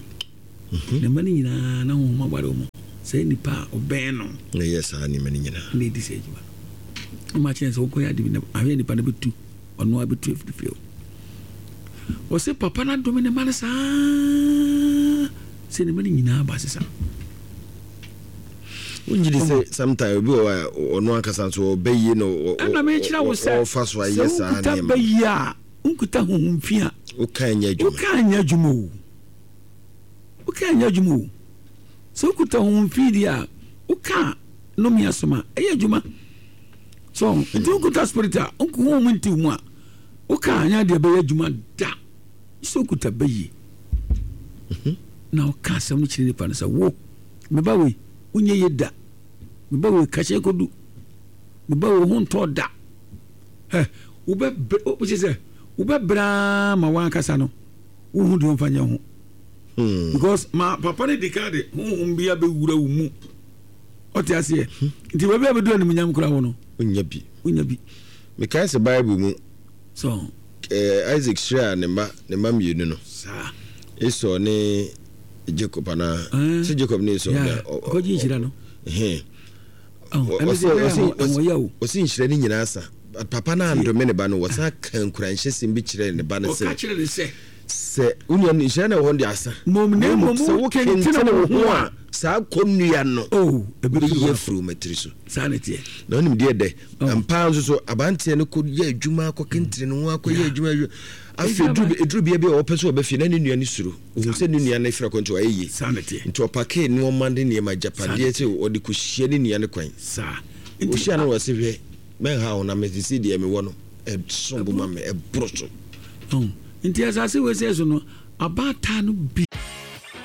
Speaker 2: mhm. Ne mma no nyinaa na honhom aware wɔn. Saa nipa a ɔbɛn no.
Speaker 1: Na ɛyɛ saa nneɛma no nyinaa.
Speaker 2: Na ɛdi saa adwuma no. Ɔma kyerɛ sɛ wokɔyɛ ade bi na ahwɛ nipa no bɛtu ɔno a bɛtu afiri fie hɔ. Ɔsɛ papa no adome ne mma no saa sɛ ne mma no nyinaa ba sesa.
Speaker 1: Wongye di sɛ sometimes obi wɔ hɔ a ɔno ankasa nso ɔbɛ yie na
Speaker 2: ɛna mekyerɛ wo sɛ
Speaker 1: ɔfa so ayɛ saa
Speaker 2: nneɛma. Sɛ wonkuta bɛ yie a wonkuta honhom fi a
Speaker 1: woka nyɛ adwuma.
Speaker 2: Woka nyɛ adwuma o. Woka nyɛ adwuma o. Sɛ wokuta honhom fi deɛ a woka nnome asɛm a ɛyɛ adwuma. So nti wokuta spirit a honhom nti mu a woka anyɛ adeɛ bɛyɛ adwuma da. Sɛ wokuta bɛ yie mhm. na woka asɛm no kyerɛ nipa no sɛ wo Me ba wei, wonyɛ yie da. Me ba wei, kahyɛ kɔdu. Me ba wei, ho ntɔ da. Ɛ wobɛbrɛ wokyɛ sɛ wobɛbrɛ ara ma w'ankasa no wohu deɛ ɔmfa nyɛ ho. Hmm. Because ma papa no di kan de honhom bi abɛwura wo mu. Ɔte aseɛ. Hmm. Nti baabi a bɛdu animuonyam koraa wɔ no.
Speaker 1: Wonya bi.
Speaker 2: Wonya bi.
Speaker 1: Mekae sɛ Bible mu So. Eh, Isaac hyiraa ne mma ne mma mmienu no.
Speaker 2: Saa.
Speaker 1: Esau ne Jacob anaa? Eh. Sɛ Jacob ne Esau.
Speaker 2: Yeah. Ɔkɔgye nhyira no.
Speaker 1: Ɛhɛn. Ɔsi nhyira no nyinaa sa. Papa no andome ne ba no, wɔsan ka nkuranhyɛsɛm bi kyerɛɛ ne ba no sɛ.
Speaker 2: Ɔka kyerɛ ne sɛ.
Speaker 1: Sɛ wo nua no nhyira na ɛwɔ hɔ no de asa.
Speaker 2: Mmom na mmom
Speaker 1: sɛ wokentene wo ho a, saa kɔnnua no
Speaker 2: oh,
Speaker 1: bɛyi afiri wo matiri so.
Speaker 2: Saa na ɛteɛ.
Speaker 1: Na wonim deɛ dɛ, oh. ampa ara nso so abanteɛ no kɔyɛ adwuma akɔkentene ne ho akɔyɛ adwuma adwuma. Afei ɛduru bia bi a ɔpɛ sɛ ɔbɛ fie na ne nua no suro. Ohun sɛ ne nua no frɛ kɔ nti wayɛ yie.
Speaker 2: Saa na ɛteɛ.
Speaker 1: Nti ɔpakee nneɛma ne nneɛma agyapadeɛ sɛ ɔde kɔhyia ne nua no kwan.
Speaker 2: Saa.
Speaker 1: Ɔhyia no wɔ se hwɛ mɛnha wo na mese sɛ deɛ mewɔ no ɛso bo ma me ɛboro so.
Speaker 2: Nti asase wesee so no abaatan no bi.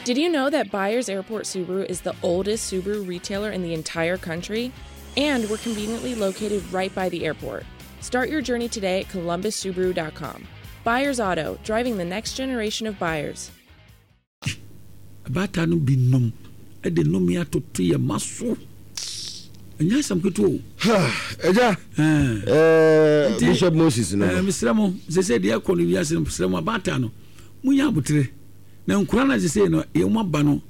Speaker 3: Did you know that Byers Airport Subaru is the oldest Subaru retailer in the entire country? And we're conveniently located right by the airport. Start your journey today at columbussubaru.com. Byers Auto, driving the next generation of buyers.
Speaker 2: Abaatan no bi nom de nnome atoto yɛn mma so. Ɛnyɛ asɛm ketewa o.
Speaker 1: Ɛgya, eh, Bishop Moses no.
Speaker 2: Eh, mesrɛ mo, sɛ sɛ deɛ ɛkɔ no wiase no, mesrɛ mo abaatan no, monyɛ abotere. Na nkura no sɛ no, yɛn mu aba no,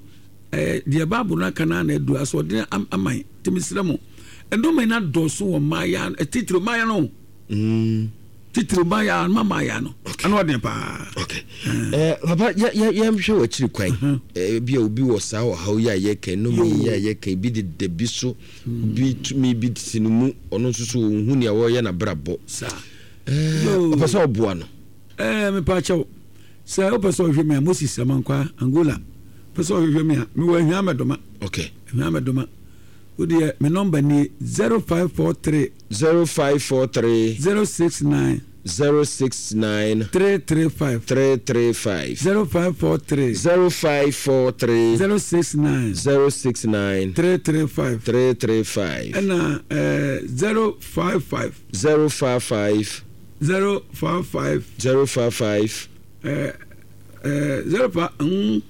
Speaker 2: eh, deɛ Bible no aka no na adu asoɔden aman. Nti mesrɛ mo, nnome no adɔɔso wɔ mmaayɛ, titiri mmaayɛ no. Mm. Titiriw mmayewa no, ma mmayewa no. Ano ɔden paa.
Speaker 1: Okay. Eh, papa, yɛnhwɛ w'akyiri kwan. Uh-huh. Eh, bi a obi wɔ saa ɔhaw yi a yɛka, nnome yi a yɛka, bi deda bi so, hmm. bi tumi bi si no mu, ɔno nso so ɔnhu nea wɔreyɛ n'abrabɔ.
Speaker 2: Saa.
Speaker 1: Eh, ɔpɛ sɛ ɔboa no.
Speaker 2: Eh, mepa kyɛw. Sɛ wopɛ sɛ ɔhwɛ me a, Moses Amankwa, Angola. Pɛ sɛ ɔhwehwɛ me a, mewɔ Ahwia Mɛdoma.
Speaker 1: Okay.
Speaker 2: Ahwia Mɛdoma. Wo deɛ me nɔmba nie, 0543.
Speaker 1: 0543.
Speaker 2: 069.
Speaker 1: 069.
Speaker 2: 335.
Speaker 1: 335.
Speaker 2: 0543.
Speaker 1: 0543.
Speaker 2: 069.
Speaker 1: 069.
Speaker 2: 335.
Speaker 1: 335.
Speaker 2: Ɛna ɛɛ 055.
Speaker 1: 055.
Speaker 2: 055.
Speaker 1: 055.
Speaker 2: Ɛɛ ɛɛ 05 mm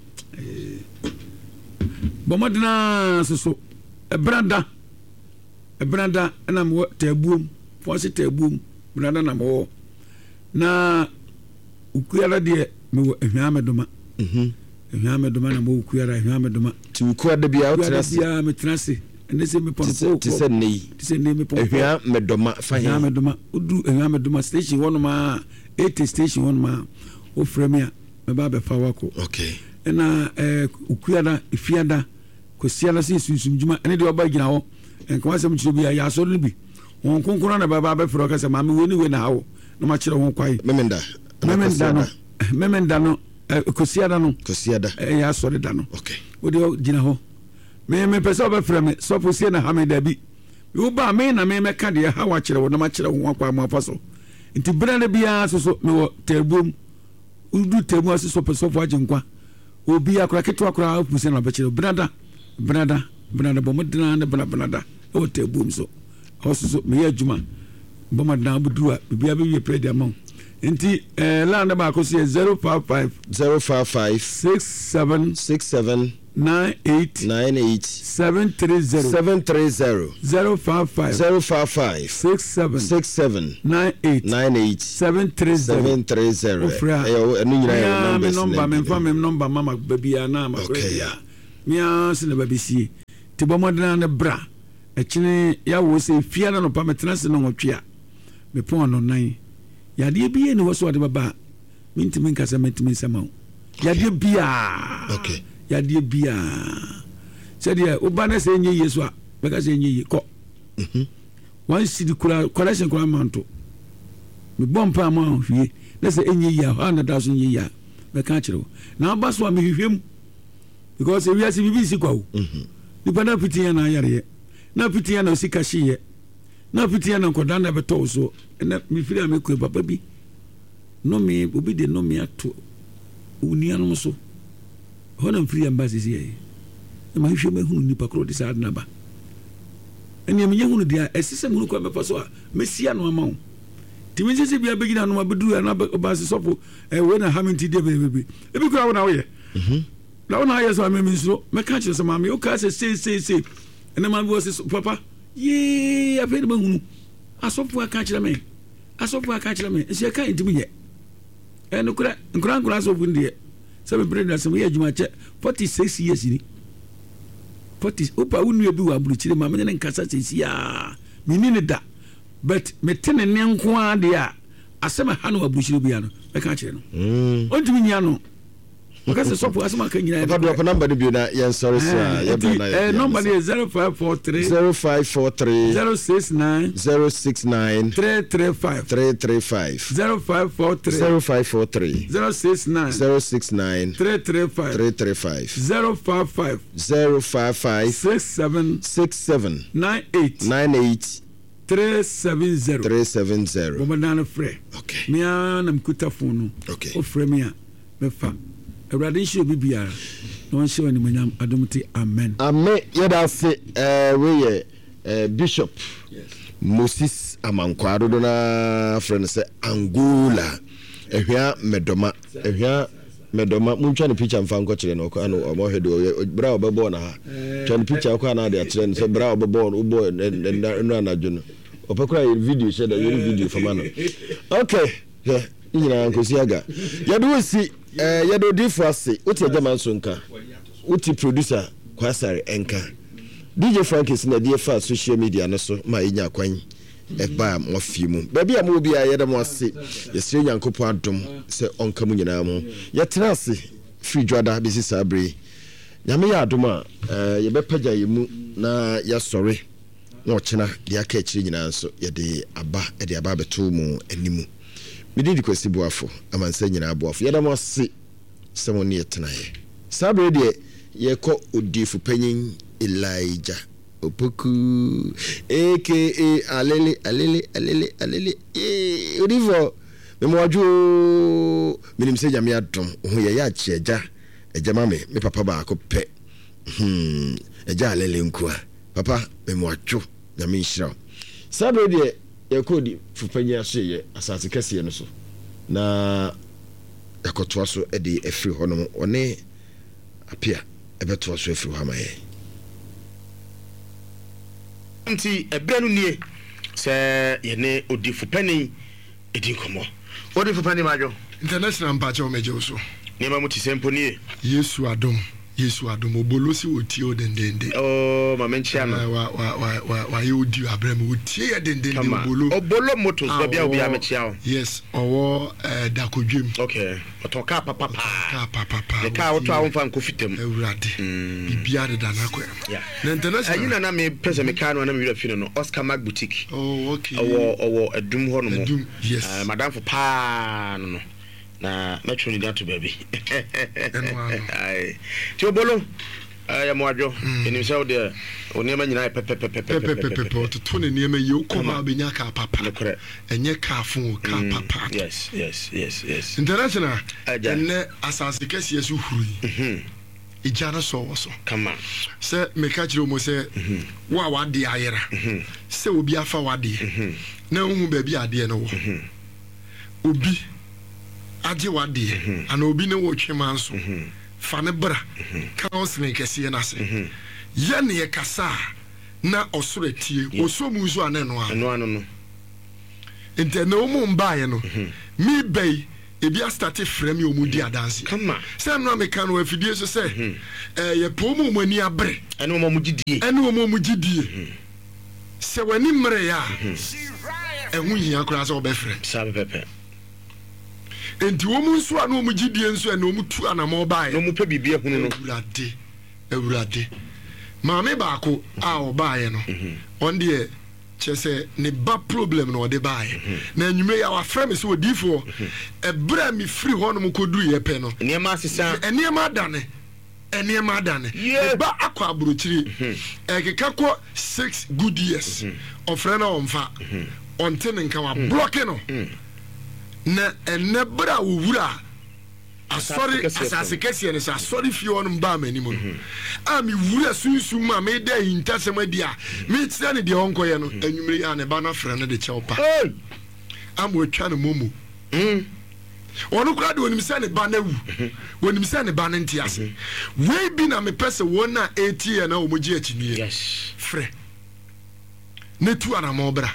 Speaker 2: bɔ mmɔden ara soso ɛbrada ɛbrada ɛna mewɔ taabuom fɔnse taabuom brada na mewɔ na okuara deɛ mewɔ ahwia mɛdoma
Speaker 1: mhm.
Speaker 2: ahwia mɛdoma na mewɔ okuara ahwia mɛdoma
Speaker 1: ti okuara bia wotena ase
Speaker 2: bia metena ase ɛnɛ sɛ mepɔn
Speaker 1: fo te sɛ nnɛ yi
Speaker 2: te sɛ nnɛ mepɔn
Speaker 1: ahwia mɛdoma fa
Speaker 2: ahwia mɛdoma wodu ahwia mɛdoma station hɔnom a 80 station hɔnom a wofrɛ me a mɛba abɛfa wo akɔ.
Speaker 1: Okay.
Speaker 2: Ɛna ɛɛ Okuada, Efiada, Kwasiada sɛ sunsum dwuma ɛne deɛ ɔba gyina hɔ nka wasɛm kyerɛ obi a yɛ asɔre no bi. Wɔn kronkron na bɛba abɛfrɛ ɔka sɛ maame wei ne wei na ha wo na makyerɛ ho kwae.
Speaker 1: Memenda.
Speaker 2: Memenda no. Memenda no Kwasiada no.
Speaker 1: Kwasiada.
Speaker 2: Ɛyɛ asɔre da no.
Speaker 1: Okay.
Speaker 2: Wo deɛ gyina hɔ. Me mepɛ sɛ ɔbɛfrɛ me sɔfo sie na ha me dabi. Wo ba me na me mɛka deɛ ha wakyerɛ wo na makyerɛ ho akwan mo afa so. Nti berɛ no biara soso mewɔ tɛbuom. Wodu tɛmu ase sɔpɛ sɔfo agyenkwa. Obi akora ketewa koraa opu sɛ na ɔbɛkyerɛ benada benada benada bɔ mmɔden ne bena benada ɛwɔ tɛbuom so. Ɛhɔ so so meyɛ adwuma bɔ mmɔden abɛduru a biribiara bɛwie pɛ de ama wo. Nti ɛɛ line no baako so yɛ 055
Speaker 1: 055
Speaker 2: 67
Speaker 1: 67.
Speaker 2: 98
Speaker 1: 98
Speaker 2: 730
Speaker 1: 730
Speaker 2: 055
Speaker 1: 055
Speaker 2: 67
Speaker 1: 67
Speaker 2: 98
Speaker 1: 98
Speaker 2: 730
Speaker 1: 730
Speaker 2: Wofrɛ a,
Speaker 1: ɛyɛ wo- ɛno nyinaa yɛ wo
Speaker 2: mea me
Speaker 1: numbers
Speaker 2: nɔmba
Speaker 1: na
Speaker 2: memfa me nɔmba ma ma baabiaa na makora
Speaker 1: Okay.
Speaker 2: biaa mea se na babɛsie nti bɔ mmɔdena ne bra ɛkyene yɛawo sɛ fia na nɔpa metena se no nwɔtwe a mepɔn anɔnan yadeɛ bi ni hɔ so ɔde bɛba a mentumi nka sɛ mentumi nsɛma wo yadeɛ biaa
Speaker 1: Okay.
Speaker 2: yadeɛ biaa sɛdeɛ woba no sɛ ɛnyɛ yie so a bɛka sɛ ɛnyɛ yie kɔ one cedi kura correction kura ma nto mebɔ mpa ma hwie na sɛ ɛnyɛ yie a hɔ a na da so nyɛ yie a bɛka akyerɛ wo na aba so a mehwehwɛ mu because ewiase biribi nsi kwa o nipa na piti yɛ na ayareɛ na piti yɛ na osika hyeeɛ na piti yɛ na nkɔdaa na ɛbɛtɔ wo soɔ ɛnɛ mefiri a mekɔ papa bi nome obi de nome ato wo nuanom so hɔ na mfiri yɛ mba sisi yɛ na mahwehwɛ mahunu nipa korɔ de saa ade no aba ɛnea menyɛ hunu deɛ a ɛsɛ sɛ mehunu kwan bɛfa so a mɛsi ano ama wo nti mensɛ sɛ bia bɛgyina no abɛduru ana ɔba se sɔfo wei na ha me nti deɛ bɛbɛbɛ ebi kora wo na woyɛ na wo na ayɛ sɛ ame mensuro mɛka kyerɛ sɛ maame wokaa sɛ sei sei sei ɛnɛ maame bi wɔ se papa yee afei na mahunu asɔfo aka kyerɛ me asɔfo aka kyerɛ me nso yɛka ntimi nyɛ ɛnokorɛ nkora nkora asɔfo no deɛ sɛ mepere no asɛm yɛ adwuma kyɛ 46 years ni 40 wopa wo nua bi wɔ aburokyire ma mene ne nkasa sɛsi a menni ne da but mete ne nne nko ara deɛ a asɛm ɛha no wɔ aburokyire bia no mɛka akyerɛ no ɔntumi nyia no ɔka sɛ sɔfo asɛm aka nyinaa
Speaker 1: Papa drop number no bio na yɛnsɔre so a yɛbrɛ na yɛde
Speaker 2: nɔmba no yɛ 0543
Speaker 1: 0543
Speaker 2: 069
Speaker 1: 069
Speaker 2: 335
Speaker 1: 335
Speaker 2: 0543
Speaker 1: 0543
Speaker 2: 069
Speaker 1: 069
Speaker 2: 335
Speaker 1: 335
Speaker 2: 055
Speaker 1: 055
Speaker 2: 67
Speaker 1: 67
Speaker 2: 98
Speaker 1: 98
Speaker 2: 370
Speaker 1: 370
Speaker 2: bɔmmɔdan no frɛ
Speaker 1: Okay.
Speaker 2: mea na mekuta phone no
Speaker 1: Okay.
Speaker 2: wofrɛ me a mɛfa awurade nhyɛ obi biara na ɔnhyɛ wo animonyam adom te amen
Speaker 1: Amen. Yɛda ase wei yɛ Bishop Moses Amankwaa dodo no ara frɛ no sɛ Angola Ahwia Mɛdɔma Ahwia Mɛdɔma montwa ne picture mfa nkɔkyerɛ no ɔkɔ ano ɔmɔhwɛ deɛ ɔyɛ berɛ a ɔbɛbɔɔ no ha twa ne picture ɔkɔ anaa de akyerɛ no sɛ berɛ a ɔbɛbɔɔ no wobɔɔ nnora anadwo no ɔpɛ koraa yɛ video hyɛ da yɛne video fama no okay hwɛ ne nyinaa nkosi aga yɛde wo si yɛde odiifo ase wote agyama nso nka wote producer Kwasare nka DJ Frankis na ɛde fa social media no so ma yɛnya kwan ɛbaa mo afie mu baabi a mowɔ biara yɛda mo ase yɛsrɛ Nyankopɔn adom sɛ ɔnka mo nyinaa mu yɛtena ase firi dwada bɛsi saa bere yi Nyame yɛ adom a yɛbɛpagya yɛ mu na yɛasɔre na ɔkyena deɛ aka akyire nyinaa nso yɛde aba de aba abɛto mo animu. Me din de Kwasi Boafo, amansan nyinaa boafo. Yɛda mo ase sɛ mo ne yɛ tenaeɛ. Saa berɛ deɛ yɛrekɔ Odiifo Panyin Elijah Opoku aka Alele Alele Alele Alele yee Odiifoɔ mema wadwo oo menim sɛ Nyame adom wo ho yɛ yɛ akye agya agya ma me me papa baako pɛ hmm agya Alele nkoa Papa memoadwo Nyame nhyira wo. Saa bere deɛ yɛkɔ odifo panyin asoɛeɛ asase kɛseɛ no so na yɛakɔtoa so de afiri hɔ nom ɔne Apia ɛbɛtoa so afiri hɔ ama yɛn.
Speaker 4: Nti ɛberɛ no nie sɛ yɛne odifo panin di nkɔmmɔ. Odifo panin madwo.
Speaker 5: International mpakyɛw megye wo so.
Speaker 4: Nneɛma mu te sɛ mpo nie.
Speaker 5: Yesu adom Yesu adom obolo se otie wo dendenden.
Speaker 4: Oh ma menkyea no.
Speaker 5: Eh, wa wa wa wa wayɛ audio abrɛ me otie yɛ dendenden
Speaker 4: Kama.
Speaker 5: obolo.
Speaker 4: Obolo Motors
Speaker 5: A
Speaker 4: baabi a obiara
Speaker 5: ɔwɔ
Speaker 4: mekyea wo.
Speaker 5: yes ɔwɔ eh, Dakodwem.
Speaker 4: Okay ɔtɔn kaa papa
Speaker 5: Ɔtɔn
Speaker 4: paa.
Speaker 5: kaa papa paa
Speaker 4: Ne kaa
Speaker 5: otie
Speaker 4: wotɔ a
Speaker 5: yɛ.
Speaker 4: womfa nkɔ fitam.
Speaker 5: Awurade biribiara deda n'akwan mu.
Speaker 4: Yeah.
Speaker 5: Na international.
Speaker 4: Ayi na na me pɛ sɛ me kaa no a na me werɛ fi no no Oscar Mark Boutique.
Speaker 5: Oh okay.
Speaker 4: Ɔwɔ ɔwɔ Adum hɔ nom.
Speaker 5: Adum yes.
Speaker 4: Uh, madamfo paa no no. Na mɛtwerɛ ne din ato baabi.
Speaker 5: Ɛno ano.
Speaker 4: Aye. Ti obolo eh, yɛ mo adwo. Ɛnim sɛ wo deɛ wo nneɛma nyinaa yɛ
Speaker 5: pɛpɛpɛpɛpɛpɛ
Speaker 4: pɛpɛpɛpɛpɛpɛ.
Speaker 5: ɔtoto ne nneɛma yie wokɔ hɔ a wobɛnya kaa papa.
Speaker 4: Nokorɛ.
Speaker 5: Ɛnyɛ kaa fo o kaa papa.
Speaker 4: Yes yes yes yes.
Speaker 5: International
Speaker 4: Agya.
Speaker 5: ɛnnɛ asase kɛseɛ so hurui. Egya no sɔ wɔ so.
Speaker 4: Kama.
Speaker 5: Sɛ meka kyerɛ wɔn sɛ, Wo a w'adeɛ ayera, sɛ obi afa w'adeɛ, na wonhu baabi a adeɛ no wɔ, obi agye w'adeɛ, anaa obi ne wo retwe manso, Fa no bra counseling kɛseɛ no ase. Yɛ ne yɛkasa a na ɔsoro atie. Ɔsɔ mu nso a na ɛno
Speaker 4: ara. Ɛno ano no.
Speaker 5: Nti ɛnɛ wɔn mbaeɛ no, me ba yi, ebi astate frɛ me wɔn di adanseɛ.
Speaker 4: Kama.
Speaker 5: Sɛ ɛno a meka no wɔ afidie so sɛ, ɛɛ yɛpɛ wɔn a wɔn ani abere.
Speaker 4: Ɛne wɔn a wɔgye die.
Speaker 5: Ɛne wɔn a wɔgye die. Sɛ w'ani mmereeɛ a, ɛho nhia koraa sɛ wobɛfrɛ.
Speaker 4: Saa pɛpɛpɛ.
Speaker 5: Enti wɔn nso a na wɔn gye die nso ɛna wɔn tu anamɔ baeɛ.
Speaker 4: Na wɔn pɛ biribi ahunu no.
Speaker 5: Awurade, Awurade. Maame baako a ɔbaeɛ no, ɔno deɛ kyerɛ sɛ ne ba problem na ɔde baeɛ. Na anwummerɛ yi a wafrɛ me sɛ odiyifoɔ, ɛberɛ a mefiri hɔnom kɔduruiɛ pɛ no,
Speaker 4: Nneɛma asesa.
Speaker 5: Nneɛma adane. Nneɛma adane. Ne ba akɔ aburokyire. Ɛkeka kɔ 6 good years. Ɔfrɛ no a ɔmfa. Ɔnte ne nka, wablɔke no. Na ɛnnɛ berɛ a wɔwura asɔre asase kɛseɛ no sɛ asɔre fie hɔnom baa m'anim no, a mewura sunsum mu a meda ahintasɛm adi a mekyerɛ no deɛ ɔnkɔyɛ no, anwummere yi a ne ba no afrɛ no de kyɛw pa ama watwa no momo. Ɔno koraa deɛ ɔnim sɛ ne ba no awu, ɔnim sɛ ne ba no nte ase. Wei bi na mepɛ sɛ wɔn a ɛretie yɛn na wɔgye akyinnyeɛ frɛ na tu anamɔn bra.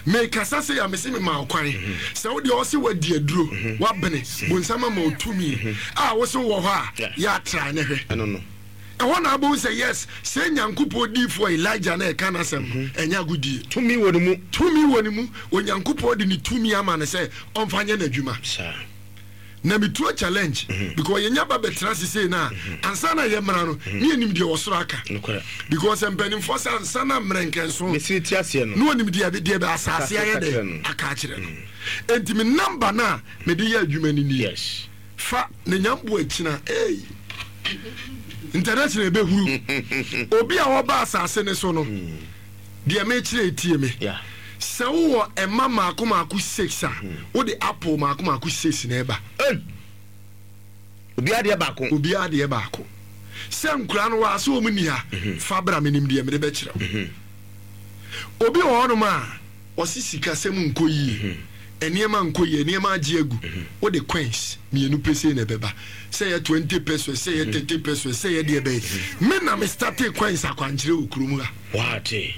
Speaker 5: Mekasa sei a, mese mema wo kwan sɛ wo deɛ ɔse wadi aduro, wabene, bonsam ama wo tumi a wose wowɔ hɔ a, yɛ atrae ne hwɛ. Ɛhɔ na abɛhu sɛ yes, sɛ Nyankopɔn diifoɔ Elijah na ɛka n'asɛm no, ɛnyɛ agodie.
Speaker 4: Tumi wɔ ne mu.
Speaker 5: Tumi wɔ ne mu. Onyankopɔn de ne tumi ama no sɛ ɔmfa nyɛ n'adwuma. Na me tuo challenge because yɛnya ba bɛtena ase sei no a, ansa na yɛmmra no, ne yɛnim deɛ ɔsoro aka. Because mpanimfoɔ sɛ ansa na mmerɛnkɛnso
Speaker 4: Mesiri te aseɛ
Speaker 5: no. na ɔnim deɛ deɛ bɛ asase ayɛ dɛ aka akyerɛ no. Enti me number no a mede yɛ adwuma no nie. Fa ne nyambo akyina ei. International ɛbɛhuru. Obi a ɔba asase no so no, deɛ mekyerɛ tie me. Sɛ wowɔ ɛma maako maako 6 a, wode apple maako maako 6 na ɛba.
Speaker 4: Obiara deɛ baako.
Speaker 5: Obiara deɛ baako. Sɛ nkura no wɔ ase wɔn ni ha, fa bra, menim deɛ mede bɛkyerɛ wo. Obi wɔ hɔnom a, ɔse sikasɛm nkɔ yie, nneɛma nkɔ yie, nneɛma agye agu, wode coins mmienu pɛ sei na ɛbɛba. Sɛ ɛyɛ 20 pesos, sɛ ɛyɛ 30 pesos, sɛ ɛyɛ deɛ ɛbɛyɛ. Me na me startee coins akwankyerɛ wɔ kurom ha.
Speaker 4: Wate.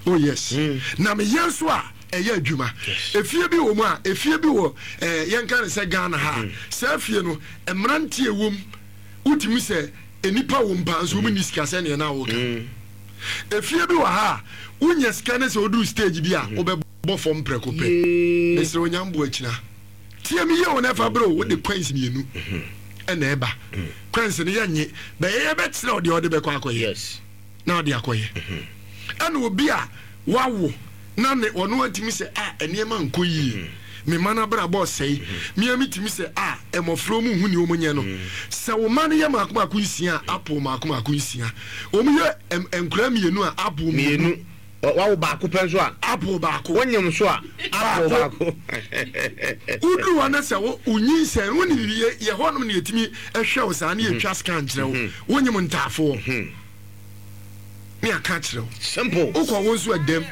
Speaker 5: Oh yes. Na meyɛ nso a ɛyɛ adwuma. Efie bi wɔ mu a, efie bi wɔ eh, yɛnka no sɛ Ghana ha a, saa fie no, mmeranteɛ wɔ mu, wotumi sɛ nnipa wɔ mu paa nso wɔn nni sika sɛdeɛ na woka. Efie bi wɔ ha a, wonya sika ne sɛ woduru stage bi a, wobɛbɔ fam prɛko pɛ. Mesrɛ wo nya mboa kyina. Tie me yie o na ɛfa berɛ o, wode coins mmienu ɛna ɛba. Coins no yɛnnye, bɛyɛ yɛbɛkyerɛ wo deɛ wode bɛkɔ akɔyɛ. Na ɔde akɔyɛ. Ɛna obi a wawo na ne ɔno atumi sɛ a nneɛma nkɔ yie, me mma no abrabɔ ɔsɛe, me a metumi sɛ a mmɔfra wɔn nhu nea wɔn nyɛ no. Sɛ wo mma no yɛ mmaako mmaako nsia a, apple mmaako mmaako nsia. Wɔn yɛ nkwadaa mmienu a, apple mmienu.
Speaker 4: Wawo baako pɛ nso a,
Speaker 5: apple baako.
Speaker 4: Wonyem nso a, apple baako.
Speaker 5: Woduru hɔ na sɛ wo wonyinsɛn, wo ne biribi yɛ hɔnom na yɛtumi hwɛ wo saa ne yɛtwa scan kyerɛ wo. Wonyem ntaafoɔ. Ne aka akyerɛ wo.
Speaker 4: Simple.
Speaker 5: Wokɔ wo nso ɛdam.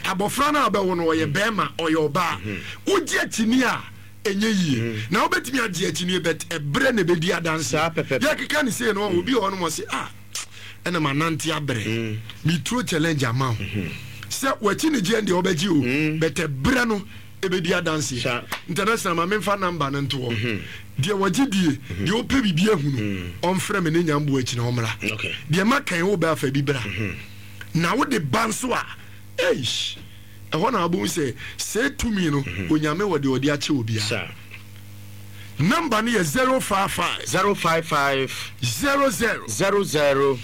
Speaker 5: Abɔfra no a wobɛwo no ɔyɛ bɛrima, ɔyɛ ɔbaa. Wogye akyinnye a ɛnyɛ yie. Na wobɛtumi agye akyinnye but ɛberɛ na ɛbɛdi adanseɛ.
Speaker 4: Saa pɛpɛpɛ.
Speaker 5: Yɛkeka no sei no, obi wɔ hɔnom ɔse ah ɛna manante abrɛ. Meturo challenge ama wo. Sɛ w'akyi ne gyeɛ deɛ wobɛgye o but ɛberɛ no ɛbɛdi adanseɛ. International ma memfa number no nto hɔ. Deɛ wɔgye die, deɛ ɔpɛ biribi ahu no, ɔmfrɛ me ne Nyamboa akyi na ɔmmra. Deɛ maka yi, wobɛ afa bi bra. Na wode ba nso a, eish, ɛhɔ na wobɛhu sɛ sɛɛ tumi no, Onyame wɔ deɛ ɔde akyɛ obiara. Number no yɛ 055.
Speaker 4: 055.
Speaker 5: 00.
Speaker 4: 00.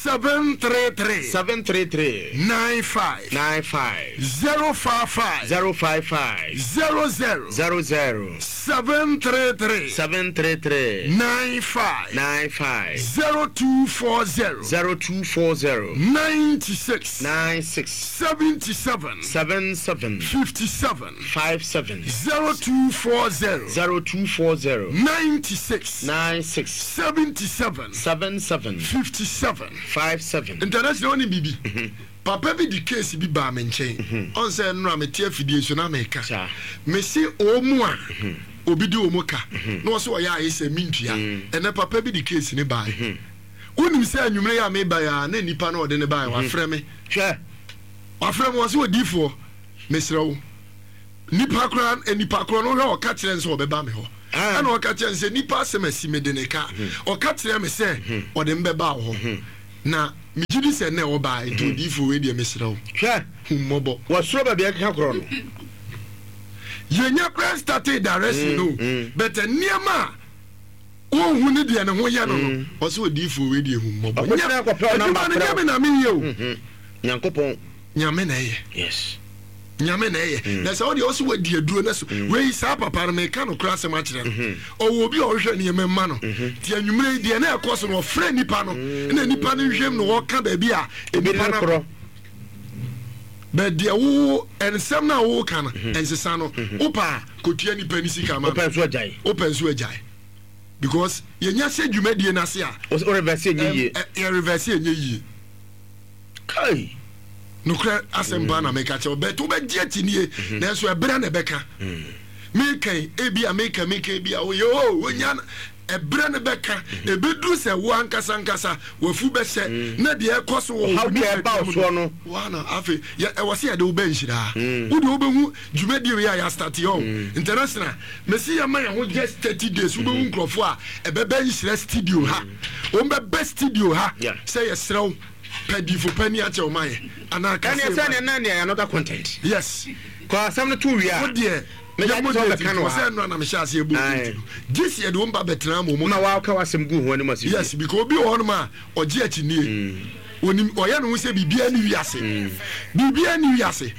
Speaker 5: 733.
Speaker 4: 733.
Speaker 5: 95.
Speaker 4: 95.
Speaker 5: 055.
Speaker 4: 055.
Speaker 5: 00.
Speaker 4: 00.
Speaker 5: 733.
Speaker 4: 733.
Speaker 5: 95.
Speaker 4: 95.
Speaker 5: 0240.
Speaker 4: 0240.
Speaker 5: 96.
Speaker 4: 96.
Speaker 5: 77.
Speaker 4: 77.
Speaker 5: 57.
Speaker 4: 57.
Speaker 5: 0240.
Speaker 4: 0240.
Speaker 5: 96.
Speaker 4: 96.
Speaker 5: 77.
Speaker 4: 77.
Speaker 5: 57.
Speaker 4: 57.
Speaker 5: International wonim biribi? Papa bi de case bi baa me nkyɛn. Ɔn sɛ nnora mete afidie so na meka. Mese ɔmu a. obi de wɔn ka na ɔsɛ ɔyɛ ayɛ sɛ mentua. Ɛnɛ papa bi de case ne baeɛ. Wonim sɛ anwummerɛ yi a meba yi a na nipa no ɔde ne baeɛ wafrɛ me.
Speaker 4: Hwɛ.
Speaker 5: Wafrɛ me ɔsɛ odiifoɔ mesrɛ wo. Nipa koraa nipa korɔ no wohwɛ ɔka kyerɛ no sɛ ɔbɛba me hɔ. Ɛna ɔka kyerɛ no sɛ nipa asɛm asi mede ne ka. Ɔka kyerɛ me sɛ ɔde me bɛba wo hɔ. Na megye di sɛ nnɛ ɔbaa nti odiyifoɔ wei deɛ mesrɛ wo.
Speaker 4: Hwɛ!
Speaker 5: Hu mmɔbɔ.
Speaker 4: Wɔsoro baabi a ɛkeka korɔ no.
Speaker 5: Yɛnya koraa startee direction no but nneɛma a ɔnhu ne deɛ ne ho yɛ no no ɔsɛ odiyifoɔ wei deɛ hu mmɔbɔ.
Speaker 4: Ɔkɔkyerɛ akɔpɛ wo number
Speaker 5: Adwuma no
Speaker 4: frɛ
Speaker 5: nyɛ
Speaker 4: wo.
Speaker 5: me na meyɛ o.
Speaker 4: Nyankopɔn.
Speaker 5: Nyame na ɛyɛ.
Speaker 4: Yes.
Speaker 5: Nyame na ɛyɛ. Mm. Na sɛ ɔdeɛ ɔsɛ wadi aduro na so mm. wei saa papa no meka no kora asɛm akyerɛ no. Mm-hmm. Ɔwɔ obi a ɔhwehwɛ nneɛma mma no. Mm-hmm. Nti anwummerɛ yi deɛ na ɛkɔ so no ɔfrɛ nipa no mm. na nipa no nhwɛm no ɔka baabi a nipa no korɔ. Bɛ deɛ wo nsɛm no a woka no mm-hmm. ɛnsesa no wopɛ a kɔtua nipa no sika ma no.
Speaker 4: Wopɛ nso agyae.
Speaker 5: Wopɛ nso agyae. Because yɛnya sɛ dwumadie no ase a.
Speaker 4: Wo reverse ɛnyɛ yie.
Speaker 5: Yɛ reverse ɛnyɛ yie.
Speaker 4: Kai!
Speaker 5: Nokorɛ asɛm paa na meka kyerɛ wo, but wobɛgye akyinie, mhm. nanso ɛberɛ na ɛbɛka. Mm. Meka yi, ebi a meka meka ebi a woyɛ o oh, wonya ɛberɛ no bɛka, mhm. ɛbɛduru sɛ wo ankasa ankasa wafu bɛhyɛ mm. na deɛ ɛkɔ so wɔ
Speaker 4: wo nipadua mu no.
Speaker 5: Wana afei ɛwɔ sɛ yɛde wo bɛ nhyira. Wode wobɛhu dwumadie wei a yɛastate ɔ international mesi yɛma yɛn ho just 30 days wobɛhu nkurɔfoɔ a ɛbɛbɛ nhyira studio ha. Wɔn bɛbɛ studio ha sɛ yɛserɛ wo pɛ difo pɛ ni akyɛ ɔma yɛ anaa kase
Speaker 4: ɛne sɛ ne na ne another content.
Speaker 5: Yes.
Speaker 4: Kɔ asɛm no to wie a.
Speaker 5: Wo deɛ yɛ mo deɛ ti fɔ sɛ ɛnura na mehyɛ aseɛ bɔ date no gye sɛ yɛde wɔn ba bɛtena ama wɔn.
Speaker 4: Ma waka w'asɛm gu ho anim ase.
Speaker 5: Yes, because obi wɔ hɔnom a ɔgye akyinie. Onim ɔyɛ ne ho sɛ biribiara ni wiase. Biribiara ni wiase.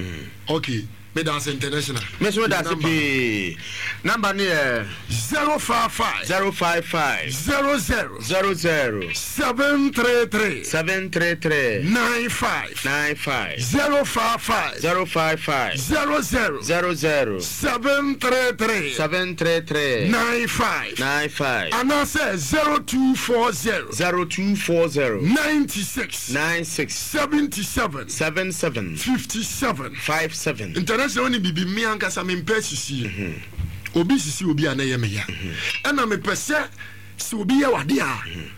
Speaker 5: Okay. Medase international.
Speaker 4: Me nso medase pii. Number no yɛ.
Speaker 5: 055.
Speaker 4: 055.
Speaker 5: 00.
Speaker 4: 00.
Speaker 5: 733.
Speaker 4: 733.
Speaker 5: 95.
Speaker 4: 95.
Speaker 5: 055.
Speaker 4: 055.
Speaker 5: 00.
Speaker 4: 00.
Speaker 5: 733.
Speaker 4: 733.
Speaker 5: 95.
Speaker 4: 95.
Speaker 5: Anaasɛ 0240.
Speaker 4: 0240.
Speaker 5: 96.
Speaker 4: 96.
Speaker 5: 77.
Speaker 4: 77.
Speaker 5: 57.
Speaker 4: 57.
Speaker 5: International wonim biribi me ankasa mempɛ asisie mhm. obi sisi obi a na ɛyɛ me ya mhm. ɛna mepɛ sɛ sɛ obi yɛ wade a mhm.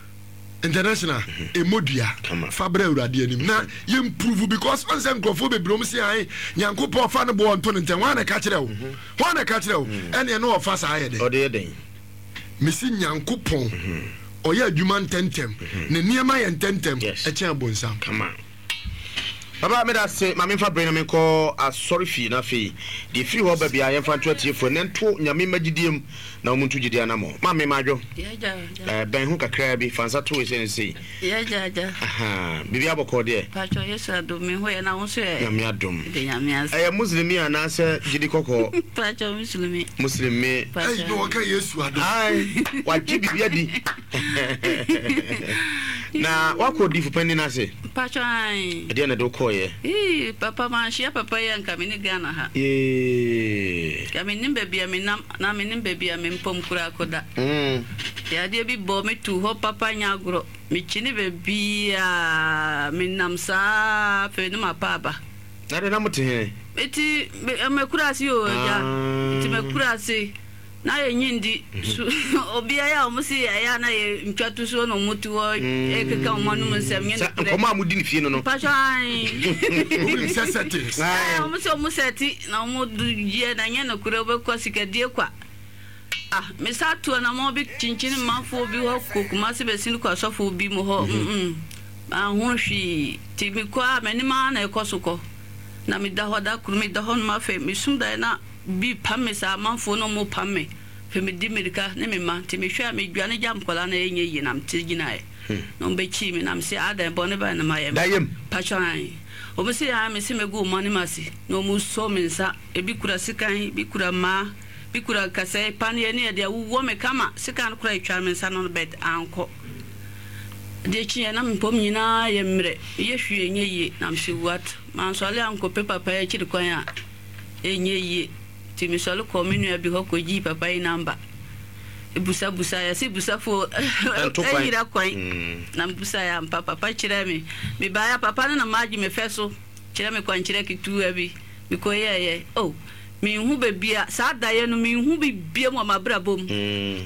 Speaker 5: international ɛmɔ dua fa brɛ awurade anim na yɛmprove because ɔn sɛ nkurɔfoɔ bebree ɔm se ae nyankopɔn fa no boɔ nto no ntɛm hwan na ɛka kyerɛ wo hwan na ɛka kyerɛ wo ɛneɛ ne ɔfa saa yɛ
Speaker 4: dɛn
Speaker 5: mesi nyankopɔn ɔyɛ adwuma ntɛntɛm ne nneɛma yɛ ntɛntɛm ɛkyɛn abonsam.
Speaker 4: Papa meda ase ma memfa bere na menkɔ asɔre fie na afei deɛ ɛfiri hɔ ba biara yɛmfa nto atiefoɔ ɛnɛ nto nyame mma gyidie mu na wɔn nto gyidie anamɔ ma me madwo eh, bɛn ho kakraa bi fa nsa to wei sɛ ne sei biribi abɔkɔ deɛ nyame adom ɛyɛ muslimi anaasɛ gyidi kɔkɔɔ muslimi wagye biribi adi Na woakɔ odiyifo panin no ase?
Speaker 6: Mpakyɛ ae.
Speaker 4: Ɛdeɛn na ɛde wo kɔeɛ?
Speaker 6: Eii papa manhyia papa yi a nka mene Ghana ha.
Speaker 4: Yee.
Speaker 6: Nka mennim baabi a menam na mennim baabi a me mpɔm koraa kɔda. Yadeɛ bi bɔɔ me too hɔ papa nyɛ agorɔ. Mekyini baabiaa menam saa afei ne mapa aba.
Speaker 4: Na deɛ na mote he?
Speaker 6: Mete m'akuraase o agya. Mete m'akuraase. Na yɛ nyi ndi su obia yɛ a ɔmo se ɛyɛ a na yɛ ntwa to suo na ɔmo te hɔ ɛkeka ɔmo anum nsɛm nyɛ
Speaker 4: Sɛ
Speaker 6: nokorɛ.
Speaker 4: nkɔmɔ a modi ne fie no no.
Speaker 6: Mpatsɔ ae.
Speaker 5: Wonim sɛ settings.
Speaker 6: Ae ɔmo se ɔmo sɛte na ɔmo do yɛ na nyɛ nokorɛ wobɛkɔ sikadie kwa. Ah me sa to anamɔn bi kyinkyin manfoɔ bi hɔ kɔ Kumasi bɛsin kɔ asɔfo bi mo hɔ mm manhunu hwee nti mekɔ a m'anim ara na ɛkɔ so kɔ na meda hɔ da koro meda hɔ nom afei mesum daeɛ na Bi pam me saa amanfoɔ no ɔmo pam me afei me di mirika ne me mma nti me hwɛ a me dwane gya nkwadaa no ɛnyɛ yie na me te gyinaeɛ na ɔmo bɛ kyii me na me se adɛn bɔne bɛn na mayɛ
Speaker 4: Dayem.
Speaker 6: Mpakyɛw ae ɔmo se ae me se mɛ gu ɔmo anim ase na ɔmo sɔ me nsa ebi kura sekan ebi kura mmaa bi kura nkasɛɛ paneɛ ne ɛde awuwɔ me kama sekan no koraa etwaa me nsa no but ankɔ adeɛ kyeeɛ na me mpɔm nyinaa yɛ mmerɛ meyɛ hwee ɛnyɛ yie na me se what mansɔre ankɔ pɛ papa yi akyiri kwan a Ɛnyɛ yie. Nti mesɔre kɔɔ me nua bi hɔ kɔgyee papa yi namba. Busabusaeɛ, yɛse busafoɔ yera kwan. Na mebusaeɛ ampa, papa kyerɛɛ me. Mebaeɛ a, papa no na magye me fɛ so kyerɛ me kwankyerɛ ketewa bi. Mekɔyɛeɛ. Oh! Menhu baabi a, saa daeɛ no menhu bi biam wɔ m'abrabɔ mu.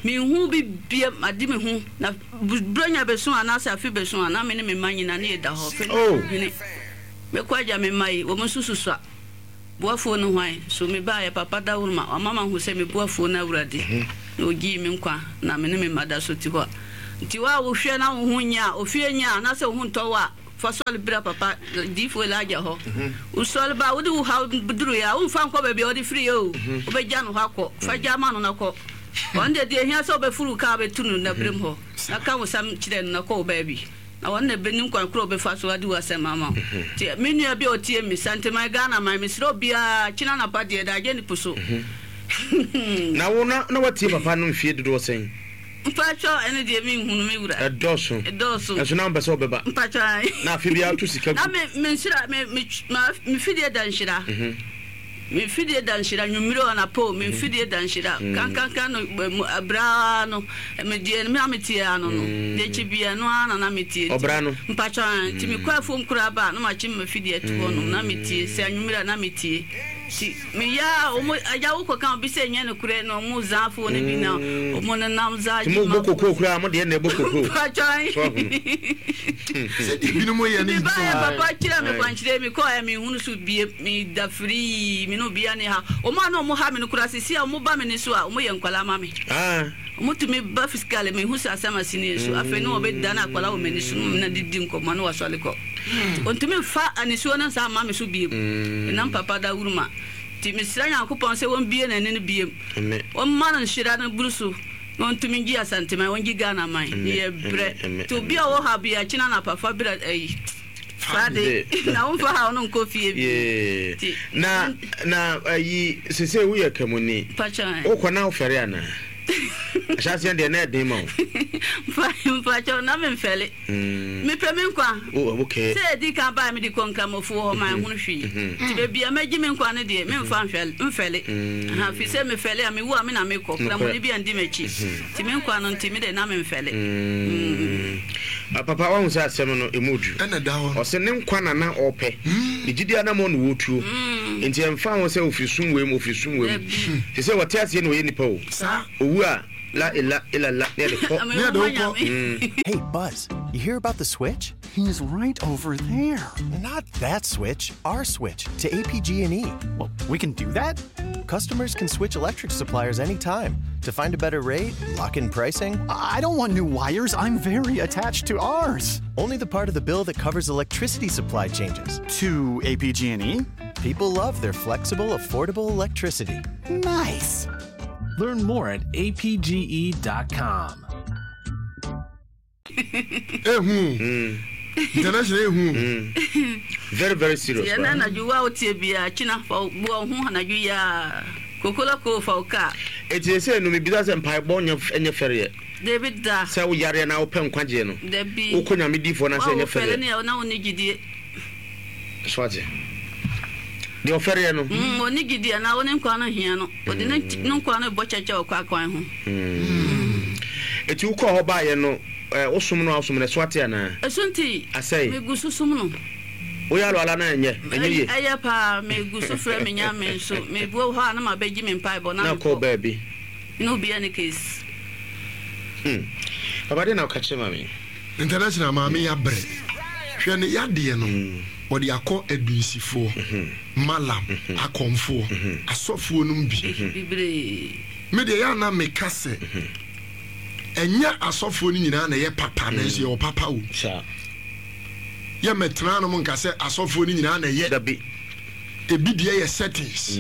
Speaker 6: Menhu bi biam, made me ho. Na Buronya bɛso anaasɛ afe bɛso a, na me ne me mma nyinaa ne yɛda hɔ. Afei na medwene, mɛkɔ agya me mma yi, wɔn nso susua. Boafoɔ no hwan? So mebaeɛ, Papa Dawuruma, wama mahu sɛ me boafoɔ no Awurade, na ɔgyee me nkwa, na me ne me mma da so te hɔ a. Nti wo a wohwɛ na wo ho nyɛ a, ofie nyɛ a, anaasɛ wo ho ntɔ wo a, Fa sɔre bra papa diyifoɔ Elijah hɔ. Wosɔre ba a, wode wo haw duruiɛ a, womfa nkɔ baabi a wode firiiɛ o. Wobɛgya no hɔ akɔ. Fa gya ma no na kɔ. Ɔno deɛ, deɛ ɛhia sɛ wobɛforo wo kaa bɛtu no n'abiram hɔ, na ka wo nsɛm kyerɛ no na kɔ wo baabi. Na ɔno na ɛbɛnim kwan korɔ a ɔbɛfa so adi w'asɛm ama wo. Nti me nua bi a ɔtie me, Santeman, Ghana man, mesrɛ obiara, kyena anapa deɛ, daagye ne po so.
Speaker 4: Na wo na na woatie papa no mfie dodoɔ sɛn?
Speaker 6: Mpatsɔ ɛno deɛ me nhunu me wura.
Speaker 4: Ɛdɔɔso.
Speaker 6: Ɛdɔɔso.
Speaker 4: Ɛnso na wompɛ sɛ wobɛba.
Speaker 6: Mpatsɔ ae.
Speaker 4: Na afe biara woto sika gu.
Speaker 6: Na me me nhyira me me ma me fidie da nhyira. Me fidie da nhyira nwummere o anapa o me fidie da nhyira. Kankankan no ɛbra no me deɛ me a me tie ano no. Deɛ kye bia ɛno ara na na me tie.
Speaker 4: Ɔbra no.
Speaker 6: Mpatsɔ ae nti me kɔ afuom koraa ba a na makye me fidie ato hɔ nom na me tie sɛ anwummere a na me tie. Nti meyɛ a ɔmo agya wo kɔka obi sɛ nyɛ nokorɛ na ɔmo zaa fo no bi na ɔmo nenam zaa
Speaker 4: gye ma. Nti mo bɔ kokoo koraa mo deɛ na ɛbɔ kokoo.
Speaker 6: Mpakyɛw.
Speaker 4: So ahunu.
Speaker 5: Sɛdeɛ ebinom yɛ no
Speaker 6: Me baeɛ
Speaker 5: nti.
Speaker 6: papa kyerɛ me kwankyerɛ me kɔɛ me nhunu so bie me da firii me ne obiara ne ha ɔmo a na ɔmo ha me no koraa sisi a ɔmo ba me ne so a ɔmo yɛ nkwadaa ma me.
Speaker 4: Ah.
Speaker 6: Ɔmo tumi ba physically me hu sɛ asɛm asi ne so afei ne ɔbɛ dane akwadaa wɔ m'ani so na me didi nkɔmɔ na wasɔre kɔ. Ɔntumi mfa anisuo no nsa mma me so biom, ɛnam papa dawuruma nti. Mesrɛ Nyankopɔn sɛ ɔmbue n'ani no biom, ɔmma no nhyira no buru so na ɔntumi ngye Asanteman, ɔngye Ghana man. Meyɛ brɛ. Nti obi a ɔwɔ haw biara, kyena anapa fa bra ayi, Friday, na womfa haw no nkɔ fie bio. Nti.
Speaker 4: Na, na ayi, sesei woyɛ Kramoni, wokɔ na wofɛre anaa? Ahyɛaseɛ deɛ na ɛden ma wo.
Speaker 6: Mpakyɛw, na memfɛre. Mepɛ me nkwa.
Speaker 4: Oh, okay.
Speaker 6: Sɛ edi kan bae mede kɔ Nkramofoɔ hɔ, manhunu hwee. Nti baabi a magye me nkwa no deɛ, memfa nhwɛl, mfɛle. Aha, firi sɛ mefɛle a, mewu a me na mekɔ. Kramoni bi andi m'akyi. Nti me nkwa no nti, me deɛ na memfɛle.
Speaker 4: Ah, papa, wahu sɛ asɛm no, emu du.
Speaker 5: Ɛna ɛda hɔ no.
Speaker 4: Ɔse ne nkwa na na ɔpɛ. Ne gyidi anamɔ na ɔretuo. Nti ɛmfa ho sɛ ofiri sum wei mu, ofiri sum wei mu.
Speaker 6: Dabi.
Speaker 4: Te sɛ ɔte aseɛ na ɔyɛ nipa o.
Speaker 5: Saa.
Speaker 4: Owu a. La ila ila la ne yɛde kɔ.
Speaker 5: Ne yɛde wo kɔ.
Speaker 7: Hey, Buzz, you hear about the switch?
Speaker 8: He's right over there.
Speaker 7: Not that switch, our switch to APG&E.
Speaker 8: Well, we can do that?
Speaker 7: Customers can switch electric suppliers anytime to find a better rate, lock in pricing.
Speaker 8: I don't want new wires. I'm very attached to ours.
Speaker 7: Only the part of the bill that covers electricity supply changes.
Speaker 8: To APG&E?
Speaker 7: People love their flexible, affordable electricity.
Speaker 8: Nice.
Speaker 9: Learn more at apge.com.
Speaker 5: Ehu. Mm. International ehu.
Speaker 4: Mm. Very very serious.
Speaker 6: Yɛn anadwo wa wotie bia kyina fa bu ho anadwo ya kokola ko fa wo kaa.
Speaker 4: Eti sɛ no mebisa sɛ mpaebɔ nyɛ nyɛ fɛreɛ.
Speaker 6: Dabi da.
Speaker 4: Sɛ wo yareɛ na wopɛ nkwagyeɛ no.
Speaker 6: Dabi.
Speaker 4: Wokɔ nyame difoɔ na sɛ nyɛ fɛreɛ.
Speaker 6: Wa wo fɛre ne na wo ne gyidie.
Speaker 4: So ate? Deɛ ɔfɛreɛ no.
Speaker 6: Mm, ɔne gyidie anaa ɔne nkwa no hia no. Ɔde ne ne nkwa no bɔ kyɛkyɛ wɔ kwakwan ho.
Speaker 4: Mm. Eti wokɔɔ hɔ baayɛ no, eh, wosom no a wosom no, ɛso ate anaa?
Speaker 6: Ɛso nti.
Speaker 4: Asɛe.
Speaker 6: Megu so som no.
Speaker 4: Woyɛ alɔala na ɛnyɛ, ɛnyɛ yie.
Speaker 6: Ɛyɛ paa, megu so frɛ me Nyame nso. Mebue hɔ a na mabɛgye me mpaebɔ na mekɔ.
Speaker 4: Na kɔ baabi.
Speaker 6: Ne obiara ne case.
Speaker 4: Hmm. Papa deɛ na woka kyerɛ maame yi?
Speaker 5: International maame yi abrɛ. Hwɛ ne yadeɛ no ɔde akɔ adunsifoɔ, malam, akɔmfoɔ, asɔfoɔ nom bi. Me deɛ yɛ a na meka sɛ ɛnyɛ asɔfoɔ no nyinaa na ɛyɛ papa nanso yɛwɔ papa wom. Yɛ mɛtena nom nka sɛ asɔfoɔ no nyinaa na ɛyɛ. Ebi deɛ yɛ settings.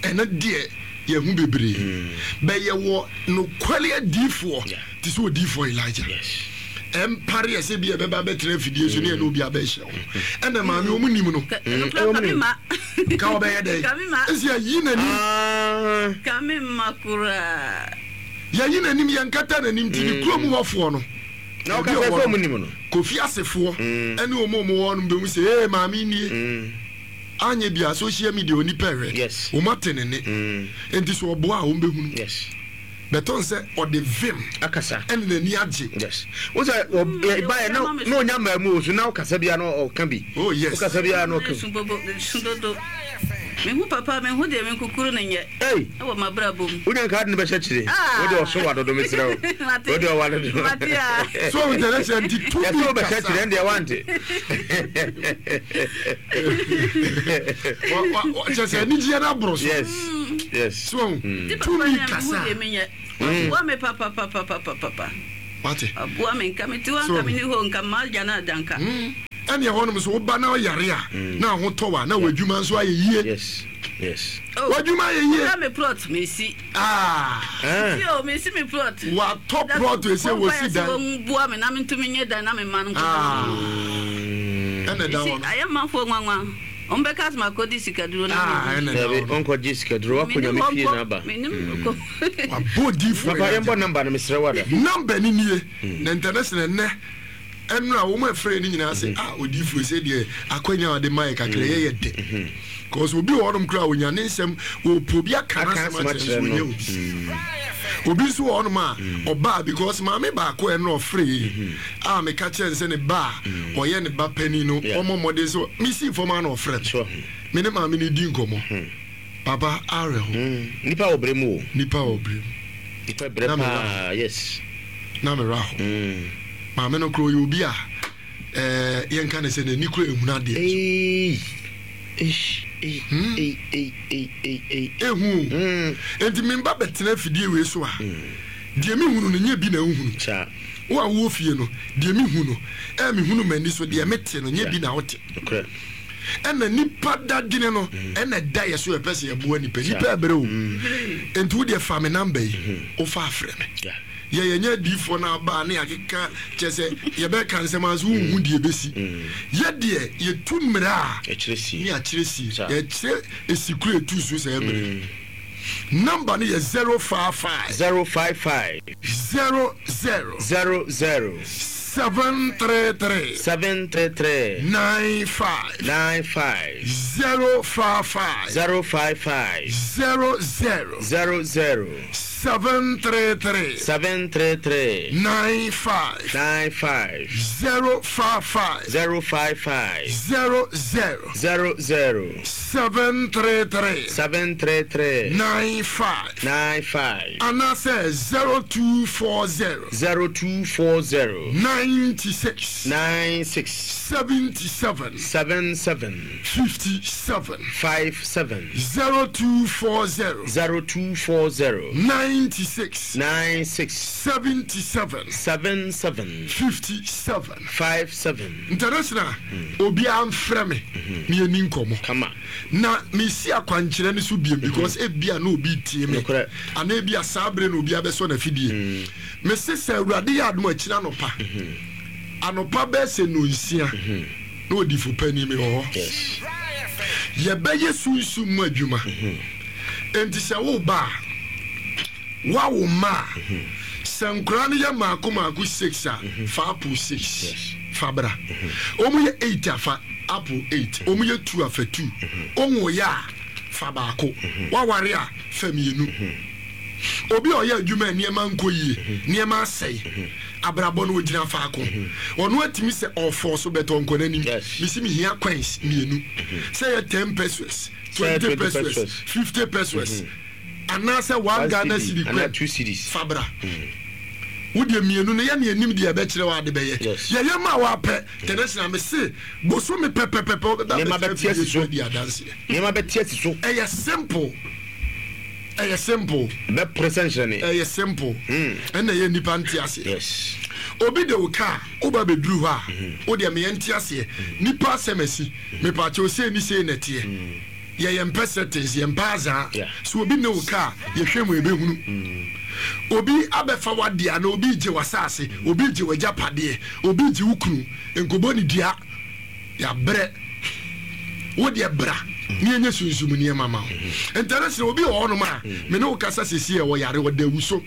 Speaker 5: Ɛno deɛ yɛhu bebree. Bɛ yɛwɔ nokware adiifoɔ te sɛ odiifoɔ Elijah. Ɛmpare yɛ sɛ bi ɛbɛba bɛtena afidie so ne ɛne obi abɛhyɛ ho. Ɛna maame wɔn nim no. Ka ɔbɛyɛ dɛ. Ɛsi ayi n'anim.
Speaker 6: Kame mma koraa.
Speaker 5: Yɛyi n'anim yɛnkata n'anim ti ne kurom hɔfoɔ no.
Speaker 4: Na ɔka sɛ sɛ wɔn nim no.
Speaker 5: Kofi asefoɔ ɛne wɔn a wɔn wɔ hɔ no bɛhu sɛ ee maame nie. Anyɛ biaa social media onipa ɛhwɛ
Speaker 4: Yes.
Speaker 5: wɔn ate ne nne nti sɛ ɔboa a wɔn bɛhunu
Speaker 4: Yes.
Speaker 5: bɛtɔn sɛ ɔde vim
Speaker 4: Akasa.
Speaker 5: ɛne n'ani agye.
Speaker 4: Yes. Wo sɛ ɔ
Speaker 6: Mm,
Speaker 4: ɛ baeɛ na
Speaker 6: ɔma me
Speaker 4: na
Speaker 6: so.
Speaker 4: ɔnya mmaa mu o so na ɔkasa biara na ɔka bi.
Speaker 5: Oh yes.
Speaker 4: Ɔkasa biara na ɔka
Speaker 6: Su
Speaker 4: bi.
Speaker 6: bobo, su dodo. Mehu papa mehu deɛ menkukuru no nyɛ wɔ m'abrabɔ mu.
Speaker 4: Wonya nka ade no bɛhyɛ kyire. Wode ɔso wa dodo mesrɛ wo. Wode ɔwa dodo.
Speaker 6: Mate a.
Speaker 5: So international nti tumi
Speaker 4: kasa. Yɛsɛ wobɛhyɛ kyire ɛndeɛ wante.
Speaker 5: Kyɛ sɛ anigyeɛ no aboro so.
Speaker 4: Yes. Yes.
Speaker 5: So tumi kasa.
Speaker 6: Waboa me papapapapapa.
Speaker 5: Wate.
Speaker 6: Waboa me nka me ti hɔ nka me ni hɔ nka ma gya no ada nka.
Speaker 5: Ɛne ɛhɔ nom so woba na ɔyare a mm. na ahotɔ wa na w'adwuma nso ayɛ yie.
Speaker 4: Yes. Yes.
Speaker 6: Oh,
Speaker 5: w'adwuma ayɛ yie.
Speaker 6: Ɔda me plot mesi.
Speaker 5: Ah.
Speaker 6: Si o mesi me plot.
Speaker 5: Watɔ plot ese wosi dan.
Speaker 6: Wɔn bua me na me ntumi nye dan na me ma no nkɔ.
Speaker 5: Ah. Ɛna da hɔ no.
Speaker 6: Ayɛ manfoɔ nwanwa. Wɔn bɛka sɛ makɔdi sikaduro na.
Speaker 5: Ah, ɛna da hɔ
Speaker 4: no. Ɔnkɔgye sikaduro wakɔ nyame fie na aba.
Speaker 5: Wabɔ diifoɔ.
Speaker 4: Papa yɛn bɔ namba no mesrɛ wada.
Speaker 5: Namba ni nie na international nɛ. Ɛnora wɔn a ɛfrɛ no nyinaa sɛ ah odiifoɔ sɛ deɛ akwanya a ɔde ma yɛ kakra yɛ yɛ dɛ cause obi wɔ hɔnom koraa onya ne nsɛm ɔpɛ obi aka n'asɛm akyerɛ nso ɔnyɛ obi obi nso wɔ hɔnom a ɔbaa because maame baako ɛnora ɔfrɛ yi a meka kyerɛ no sɛ ne ba a ɔyɛ ne ba panin no ɔmmɔ mmɔden sɛ mesii fam a na ɔfrɛ me me ne maame no di nkɔmmɔ Papa awerɛho.
Speaker 4: Nipa wɔ brɛ mu o.
Speaker 5: Nipa wɔ brɛ mu.
Speaker 4: Nipa brɛ paa yes.
Speaker 5: Na me werɛ aho. Maame no koraa ɔyɛ obi a ɛɛ yɛnka ne sɛ n'ani koraa ehunu adeɛ nso. Ehu o. Enti me ba bɛtena afidie wei so a, deɛ me hunu no nyɛ bi na wohunu. Wo a wowɔ fie no, deɛ me hu no, ɛɛ me hunu m'ani so, deɛ me te no nyɛ bi na wote. Ɛna nipa dadwene no ɛna ɛda yɛ so yɛpɛ sɛ yɛboa nipa nipa ɛbrɛ o nti wo deɛ fa me namba yi wofa afrɛ me yɛ yɛnyɛ adiifoɔ no aba ne yɛakeka kyɛ sɛ yɛbɛka nsɛm anso wonhu deɛ ɛbɛsi yɛ deɛ yɛtu mmerɛ a ne akyerɛ sie yɛkyerɛ ɛsi koro ɛtu so sɛ ɛmmerɛ namba no yɛ 055
Speaker 4: 055
Speaker 5: 00
Speaker 4: 00
Speaker 5: 733
Speaker 4: 733
Speaker 5: 95
Speaker 4: 95
Speaker 5: 055
Speaker 4: 055
Speaker 5: 00
Speaker 4: 00
Speaker 5: 733
Speaker 4: 733
Speaker 5: 95
Speaker 4: 95
Speaker 5: 055
Speaker 4: 055
Speaker 5: 00
Speaker 4: 00
Speaker 5: 733
Speaker 4: 733
Speaker 5: 95
Speaker 4: 95
Speaker 5: anaasɛ 0240
Speaker 4: 0240
Speaker 5: 96
Speaker 4: 96
Speaker 5: 77
Speaker 4: 77
Speaker 5: 57
Speaker 4: 57
Speaker 5: 0240
Speaker 4: 0240
Speaker 5: 96
Speaker 4: 96
Speaker 5: 77
Speaker 4: 77
Speaker 5: 57
Speaker 4: 57
Speaker 5: International obiara mfrɛ me na yɛni nkɔmmɔ.
Speaker 4: Kama.
Speaker 5: Na mesi akwankyerɛ no so biom because ebia na obi retie me anaa ebia saa bere na obi abɛsɔ n'afidie. Mese sɛ Awurade yɛ adom a akyiri anɔpa, anɔpa bɛyɛ sɛ nnɔnsia na odifo panin mewɔ hɔ. Yɛbɛyɛ sunsum mu adwuma. Enti sɛ woreba a, Woawo mma a, sɛ nkwadaa no yɛ mmaako mmaako six a, fa apple six fa bra. Wɔn yɛ eight a, fa apple eight. Wɔn yɛ two a, fa two. Wonwoeɛ a, fa baako. Woaware a, fa mmienu. Obi a ɔyɛ adwuma a nneɛma nkɔ yie, nneɛma asɛe, abrabɔ no ogyina faako. Ɔno atumi sɛ ɔfɔɔ so bɛtɔ ɔnkɔ n'anim. Mesi mehia coins mmienu. Sɛ yɛ ten pesos, 20 pesos, 50 pesos. Anaasɛ one Ghana cedi kura fa bra. Wo deɛ mmienu no yɛ ne anim deɛ ɛbɛkyerɛ wo ade bɛyɛ. Yɛyɛ ma wo apɛ tɛnɛsena me se bosome pɛpɛpɛpɛ wobɛba abɛtena fie so adi adanseɛ.
Speaker 4: Nneɛma bɛte asi so.
Speaker 5: Ɛyɛ simple. Ɛyɛ simple.
Speaker 4: Bɛpere sɛ nhyerɛne.
Speaker 5: Ɛyɛ simple. Ɛna ɛyɛ nnipa nte aseɛ.
Speaker 4: Yes.
Speaker 5: Obi de wo kaa woba bɛduru hɔ a wo deɛ meyɛ nte aseɛ. Nipa asɛm asi. Mepaakyɛw sei ne sei na ɛteɛ. Yɛ yɛn pɛ settings, yɛn pɛ azaa. So obi ne wo ka a, yɛhwɛ mu yɛbɛhunu. Obi abɛfa w'adeɛ anaa obi regye w'asaase, obi regye w'agyapadeɛ, obi regye wo kunu, nkɔbɔ ne dua. Yɛabrɛ. Wo deɛ bra ne yɛnyɛ sunsum nneɛma ma wo. International obi wɔ hɔnom a, me ne wo kasa seesei a ɔyare, ɔda awu so.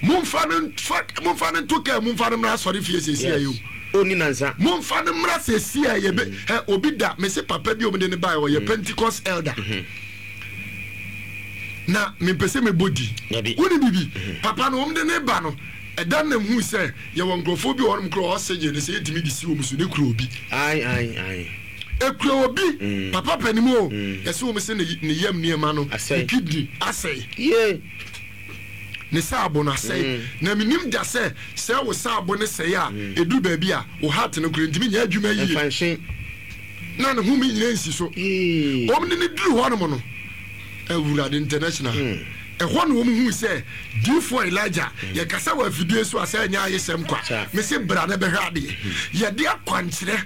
Speaker 5: Momfa no mfa, momfa no nto kaa mu mfa no mmra asɔre fie seesei yi o.
Speaker 4: Onni nansa.
Speaker 5: Momfa no mmra seesei a yɛbɛ ɛ obi da mese papa bi a wɔde no baeɛ ɔyɛ Pentecost elder na mempɛ sɛ mebɔ di. Wone bibi papa no wɔde ne ba no ɛda nam hu sɛ yɛwɔ nkurɔfoɔ bi wɔ hɔnom koraa oxygen no sɛ yɛtumi de si wɔn so ne kura obi.
Speaker 4: Ae ae ae.
Speaker 5: Ekura obi papa panin o, yɛse wɔn se ne yam nneɛma no, ne kidney asɛe. Ne saabo no asɛe. Na menim da sɛ, sɛ wo saabo no sɛe a, ɛduru baabi a, wo heart no koraa ntumi nyɛ adwuma yie. Na ne home nyinaa nsi so. Wɔn de no duru hɔnom no, Awurade International, ɛhɔ na wɔn hui sɛ diifoɔ Elijah, yɛkasa wɔ afidie so a sɛ ɛnyɛ ayesɛm kwa. Mese bra na bɛhwɛ adeɛ. Yɛde akwankyerɛ.